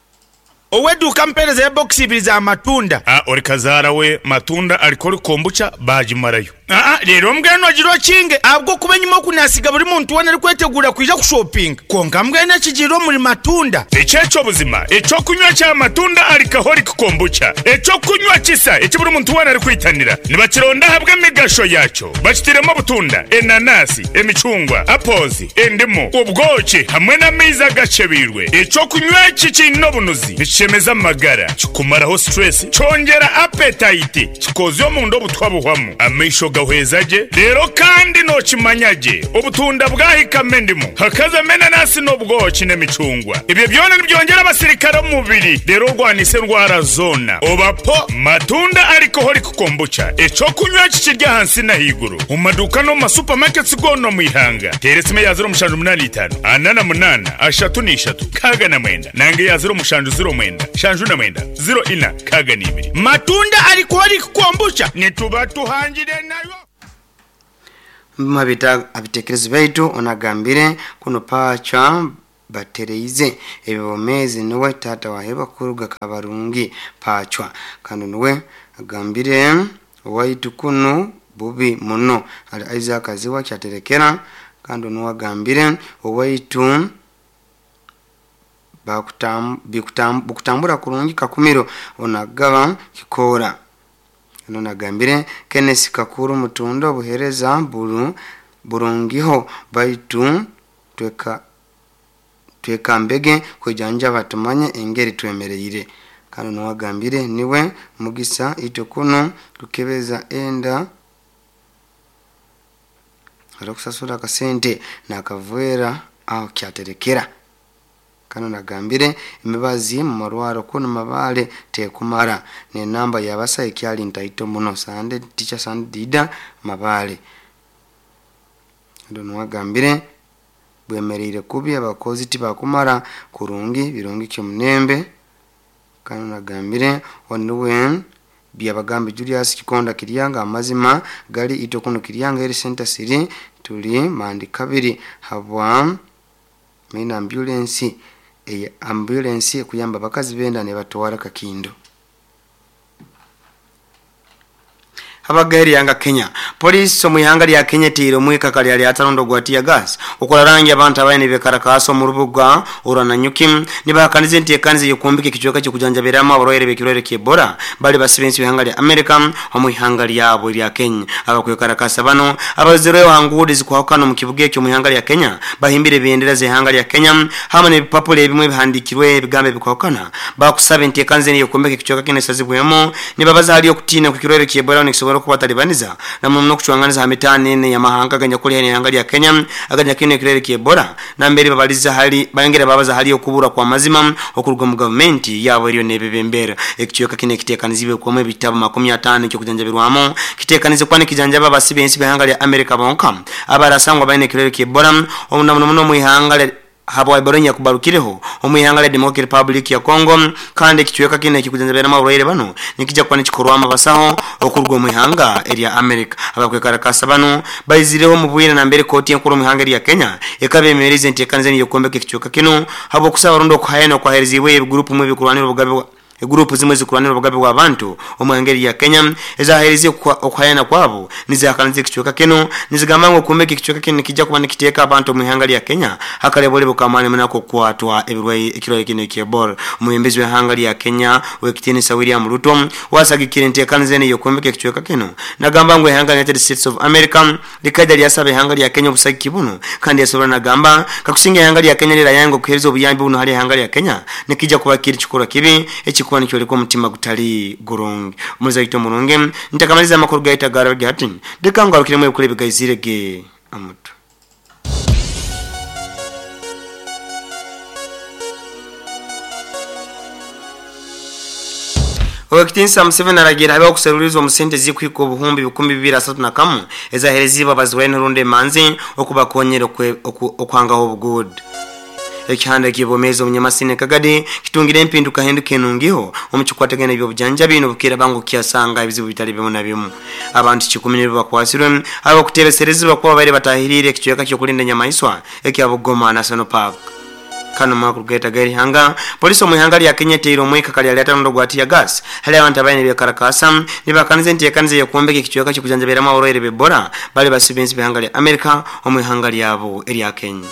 Ow'eduuka mpeereza ya bbokisi ibiri za matunda. A Ori kazaara we matunda alikori kombucha baagimarayo. Aa reero mbwenu ogire okinge ahabw'okuba enyima oku naasiga buri muntu weena arikweteguura kwija kushopinga. Kwonka mbwenu ekigiire omuri Matunda. Eki eky'obuzima, eky'okunywa kya Matunda Alcoholic Kombucha, eky'okunywa kisa eki buri muntu weena arikwitanira. Nibakironda ahabw'emigasho yaakyo. Bakitairemu obutunda, enanasi, emicungwa, apples, endimu, obwoki hamwe n'amaizi agakyebeirwe. Eky'okunywa eki kiine obunuzi, nikishemeza amagara, kikumaraho stress, kyongyera appetite, Kikoozya omunda obutwa buhwamu, amaisho gahweza gye, reero kandi nookimanya gye obutunda bwahikamu endimu, hakazamu enanasi n'obwoki n'emicungwa. Ebyo byona nibyongyera abasirikare omu mubiri reero orwanise endwara zoona. Oba po Matunda Alcoholic Kombucha, eky'okunywa eki kiri ahansi n'ahaiguru omu maduuka n'omu ma supermarkets goona omu ihanga. Teera esimu eya 0785 48 33 69 nanga eya 0709 79 04 62. Matunda Alcoholic Kombucha nituba tuhangire nayo. Omu habitekerezo byaitu onagambire kunu Pacwa batereize ebyobwomezi nuwe taata wa Heba kuruga Kabarungi Pacwa kandi nuwe agambire owaitu kunu bubi muno hali Isaac Aziwa Kyaterekera kandi nuwe agambire owaitu bikutambura kurungi Kakumiro onagaba Kikoora. Ono nagambire Kenneth Kakuru Mutunda obuhereza burungiho baitu twekambege kwejanjaba tumanye engeri twemereire. Kandi nuwagambire niwe Mugisa itwe kunu kukebeza enda arokusasura akasente nakavera aho kyaterekera. Kandi nagambire emibazi mu marwaro kunu Mabale tekumara n'enamba yabasa ekyali ntaito muno Sande Teacher Sande Dida Mabale. Kandi nuwagambire bwemereire kubi abakozi tibakumara kurungi birungi kyomunembe. Kandi nagambire onuwe byabagambe Julius Kikonda Kiryanga amazima gali itwe kuno Kiryanga eri center siri tuli mandi kabiri habwa main ambulance eye ambulance kuyamba abakazi benda ne batwara Kakindo. Abagari yanga Kenya. Polisi omu ihanga lya Kenya tiire omwika kali ali atalondo gwa tear gas. Okola rangi abantu abaine bekarakaaso mu rubuga orwananyuki nibahakaniza enteekaniza y'okumbika ekicweka ky'okujanjabiramu abarwaire b'ekirwaire ky'Ebola bali basibe ensi ihanga lya Amerika omu ihanga lyabo erya Kenya. Abakwekarakasa bano abazireho ha nguudo ezikuhakana omu kibuga ekyo omu ihanga lya Kenya bahimbire ebendera z'ihanga lya Kenya hamwe n'ebipapura ebimwe ebihandiikirwe ebigambo ebikuhakana bakusaba enteekaniza y'okumbika ekicweka kinu esazibwemu nibabaza hali okutiina kw'ekirwaire ky'Ebola nikisobora kubatalibaniza na muno n'okucwanganiza ha mitaano ene y'amahanga aganyakuli hali ihanga lya Kenya aganyakuli ekirwaire ky'Ebola nambere babaliza hali bayongera babaza hali okubura kwa mazima okuruga mu gavumenti yabo eriyo n'ebebembera. Ekicweka kinu ekiteekanizibwe kwamu ebitabo 50 ekyokujanjabirwamu kiteekanize kuba nikijanjaba abasibe ensi b'ihanga lya Amerika bonka abarasangwa baine ekirwaire ky'Ebola omuno muno mu ihanga lya habwa Ebola nyakubarukireho omu ihanga lya Democratic Republic ya Congo. Kandi ekicweka kinu ekikujanjabiramu abarwaire bano nikijja kuba nikikorwamu abasaho okuruga omu ihanga erya Amerika. Abakwekarakasa bano baizireho omu bwire nambere kooti enkuru omu ihanga erya Kenya ekaba emererize enteekaniza ey'okwombeka ekicweka kinu habw'okusaba rundi okuhayana okwahereziibwe ebigurupu mu ebikurwanira obugabe bwa egurupu zimwe zikurwanira obugabe bw'abantu omu ihanga erya Kenya ezaheerize okuhayana kwabo nizihakaniza ekicweka kinu nizigamba ngu okumbeka ekicweka kinu nikijja kuba nikiteeka abantu omu ihanga lya Kenya hakalebole kamani muno okukwatwa ekirwaire kinu eky'Ebola. Omwebembezi w'ihanga lya Kenya ow'ekitiinisa William Ruto wasagikire enteekaniza enu ey'okumbeka ekicweka kinu nagamba ngu ihanga United States of America likaija lyasaba ihanga lya Kenya obusagiki bunu kandi yasobora nagamba kakusinga ihanga lya Kenya lirayanga okuheereza obuyambi buno hali ihanga lya Kenya nikijja kuba kiri kikorwa kibi ekikuba nikyoleka omutima gutali gurungi. Omuzaito omurungi ntakamaliza amakuru gaita garabage hati leka ngarukiremu ebikuru ebigaizire ge amutu. Ow'ekitiinisa Museveni aragira habeho okuseruliiriza omu sente ezikuhika obuhumbi 231 ezahereziibwe abazirwaine rundi emanzi okubakonyera okuhangaho obuguuda. Ekihanda eky'obwomeezi omunyamasini Kagadi kitungire empinduka hinduka enungiho omu kikwatagana eby'obujanjabi n'obukiira bangu kyasanga ebizibu bitali bimu na bimu. Abantu 10 nibo bakwasirwe abakutebeserezibwa kuba babaire batahiriire ekicweka ky'okulinda enyamaiswa ekya Bugoma National Park. Kano makuru geta gari hanga polisi omu ihanga lya Kenya teiro omwika kali aliata nondo gwa tear gas hali abantu abaine byakarakasa nibakanize nti yokuombeka ekichweka ky'okujanjabiramu abarwaire b'Ebola bali basibenzi b'ihanga lya Amerika omu ihanga lyabo erya Kenya.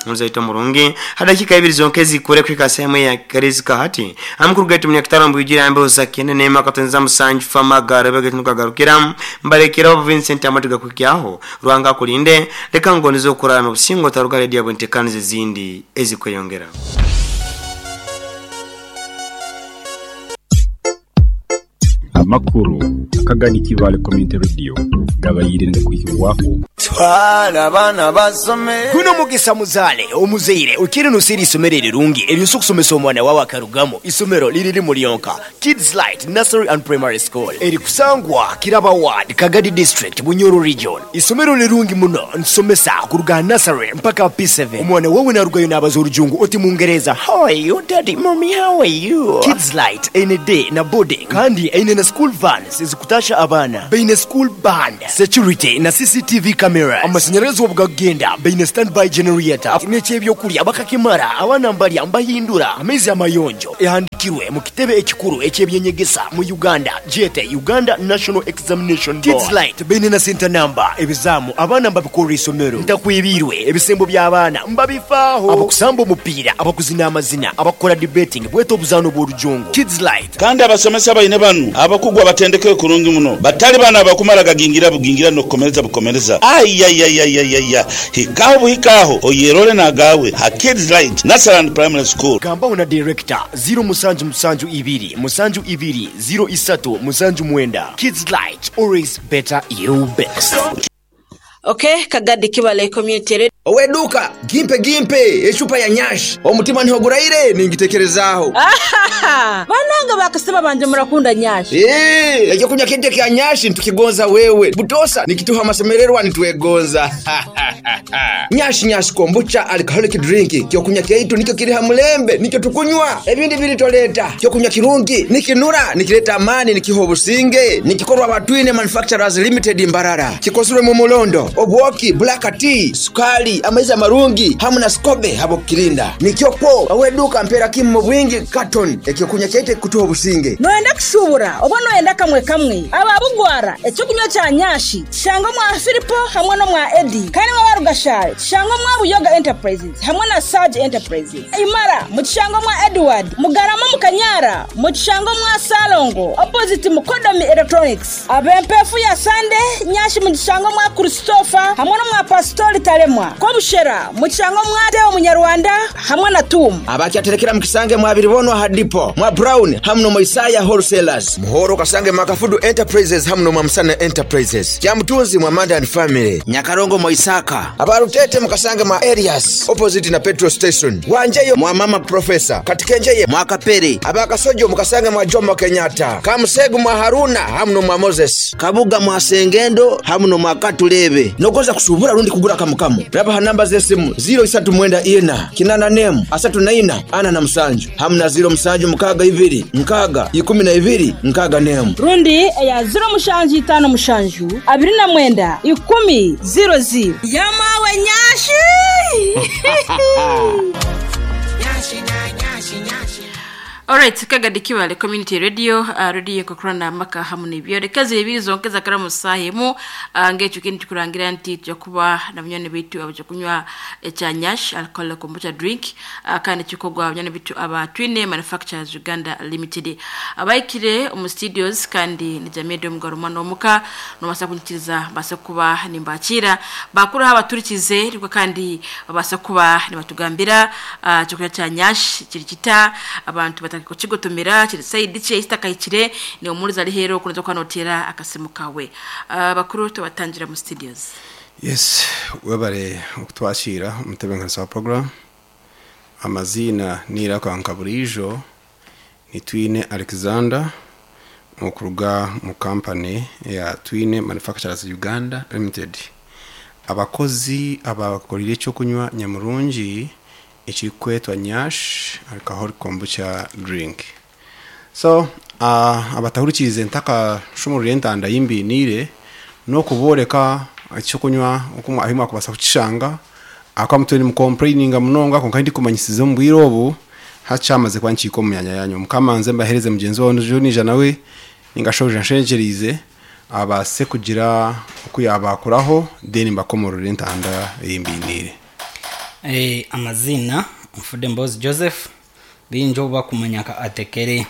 Mzaito murungi hadakika ibiri zonke zikure kwika sehemu ya karizika hati amukuru gaitu munyakitaro mbujira ambe zakene nema katenza musanju fama garebe gatunuka garukira mbarekera Vincent amatuga kukyaho Rwanga kulinde leka ngonizo kurana obusingo taruga radio bwentekanize zindi ezikweyongera. Amakuru akagani Kivale Community Radio gabayire ndakwihirwaho twala abana basome. Guno mugisa muzale omuzeire ukiri nusiri isomero rirungi eryo kusomesa omwana wawe akarugamo isomero liriri mulionka Kids Light Nursery and Primary School eri kusangwa Kiraba Ward, Kagadi District, Bunyoro Region. Isomero lirungi muno nsomesa kuruga nursery mpaka P7. Omwana wawe narugayo nabaza orujungu oti mungereza, how are you daddy, mommy, how are you? Kids Light ene day na boarding kandi ene na school vans ezikutasha abana beine school band, security na CCTV cameras, amashanyarazi obugagenda beine standby generator n'ekyebyokulya bakakimara abana mbalya mbahindura amaizi amayonjo ehandikirwe mu kitebe ekikuru ekyebyenyegesa mu Uganda jete Uganda National Examination Board. Kids Light beine na center number ebizamu abana mbabikora isomero ntakwibirwe ebisembo by'abaana mbabifaaho abakusamba omupiira abakuzina amazina abakora debating bweto obuzano bw'orujungu. Kids Light kandi abasomesa baine banu abakugwa batendeke kurungi muno batali bana abakumara gagingira bugingira no kukomereza bukomereza ayayayayaya hikaho buhikaho oyerole nagawe ha Kids Light Nursery and Primary School. Gamba una director 0 musanju musanju ibiri musanju ibiri 0 isatu musanju mwenda. Kids Light, always better you best. Okay, Kagadi Kibale Community Radio. Oweduka gimpe gimpe echupa ya nyashi omutima ntihoguraire ningitekerezaho. Bananga bakasema banje murakunda nyashi. Ekyo kunya kente kya nyashi ntukigonza wewe butosa nikituha masemererwa nitwegonza. Nyashi nyashi kombucha alcoholic drink kyo kunya kyaitu nikyo kiri hamulembe nikyo tukunywa ebindi bilitoleta kyo kunya kirungi nikinura nikileta amani nikiho businge nikikorwa batwine Manufacturers Limited Mbarara kikosurwe mu mulondo obwoki black tea sukali amaiza marungi hamu na skobe habo kirinda nikyokwo aweduka mpera kimu mu bwingi carton ekyokunya kyaite kutuho businge. Noenda kushubura oba noenda kamwe kamwe ababugwara ekyokunywa kya nyashi shanga mwa Filipo hamwe no mwa Eddie kandi mwa Rugashare shanga mwa Buyoga Enterprises hamwe na Sage Enterprises Imara mu kishango mwa Edward Mugarama mu Kanyara mu kishango mwa Salongo opposite Mukodomi Electronics abempefu ya Sande nyashi mu kishango mwa Christopher hamwe no mwa Pastori Talemwa Kobushera mu kishango mwa Deo Munyarwanda hamwe na Tum abakyaterekera mu kisange mwa Biribonwa hadipo mwa Brown hamwe no Isaya Wholesalers Muhoro kasange Makafudu Enterprises hamwe no Mamsana Enterprises Kyamutunzi mwa Manda and Family Nyakarongo mwa Isaka abarutete mukasange mwa Elias opposite na petrol station Wanjeyo mwa Mama Professor Katikenjeye mwa Kapere abakasojo mukasange mwa Jomo Kenyatta Kamusegu mwa Haruna hamwe no mwa Moses Kabuga mwa Sengendo hamwe no mwa Katulebe nokoza kusubura rundi kugura kamukamu raba namba zesimu 0 3 9 8 nemu 3 9 4 na musanju hamna 0 musanju mukaga ibiri nkaga 12 nkaga nemu rundi ya 0 mushanju 5 mushanju 29 10 00 yamawe nyashi. Nyashi na nyashi nyashi. Alright, Kagadi Kibale Community Radio, radio kokrana maka hamu n'ibyo rekazi ibiri zonkeza karamu sahemu ngecho kindi tukurangira nti tujakuba na munyane bitu abaje kunywa cha nyash alcohol kombucha drink kandi kikogwa munyane bitu aba Twine Manufacturers Uganda Limited abaikire mu studios kandi ni Jamedo Mgaruma no muka no basa kunyikiriza basa kuba nimbakira bakuru abaturikize riko kandi babasa kuba nibatugambira cyo cha nyash kiri kita abantu batako kigotomera kiri side cye istakayikire ni umuriza ari hero kunoza kwanotera akasimu kawe bakuru tubatangira mu studios. Yes, webare okutwashira umutebenkanisa wa program amazina nira kwa Nkaburijo ni Twine Alexander okuruga mu company ya Twine Manufacturers Uganda Limited. Abakozi abakorire cyo kunywa nyamurungi ekikwetwa nyash alcohol kombucha drink. So abatahurikize ntaka shumurire ntanda yimbinire no kuboreka icyo kunywa uko ahimwa kubasa kucishanga Akwa mutwe nimukomplaininga munonga, konka ndikumanyisize omu bwire obu hakyamaze kuba nkiika omu myanya yanyu. Mukama nze mbahereze mugenzi wawe Junija, nawe ningashoja nshengyerize abaase kugira oku yabakuraho, then mbakomorore entanda eyimbiiniire. Amazina Nfude Mbozi Joseph, bingi obu bakumanya nka Atekere.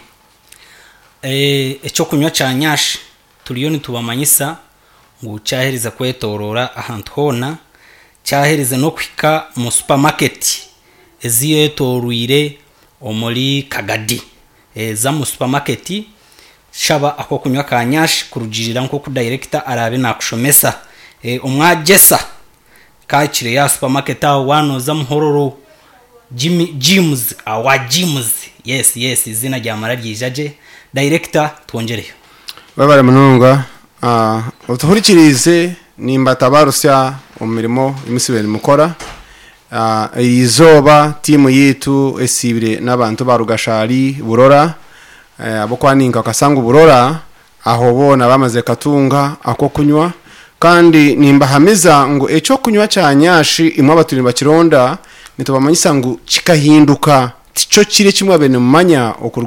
Ekyokunywa kya Nyash turiyo nitubamanyisa ngu kyaherize kwetorora ahantu hoona, kyaherize n'okuhika mu supermarket eziyetoroire omuri Kagadi. Za mu supermarket shaba akokunywa ka Nyash kurugirira nk'oku director araabe nakushomesa. Omwagyesa kahikire ya supermarket aho wanoza Muhororo Jimmy Jims awa Jims, yes yes izina ryamara ryija gye. Director twongyereyo. Webare munonga. Otuhurikiriize nimbatabarusya omu mirimo eyi nimukora. Eri izooba tiimu yaitu esiibire n'abantu ba Rugashari Burora, abokwaninka Kasangu Burora, aho boona bamaze katunga akokunywa, kandi nimbahamiza ngu ekyokunywa kya Nyashi imwe abaturi nibakironda, nitubamanyisa ngu kikahinduka, tikyo kiri ekimwe abe nimumanya okuruga.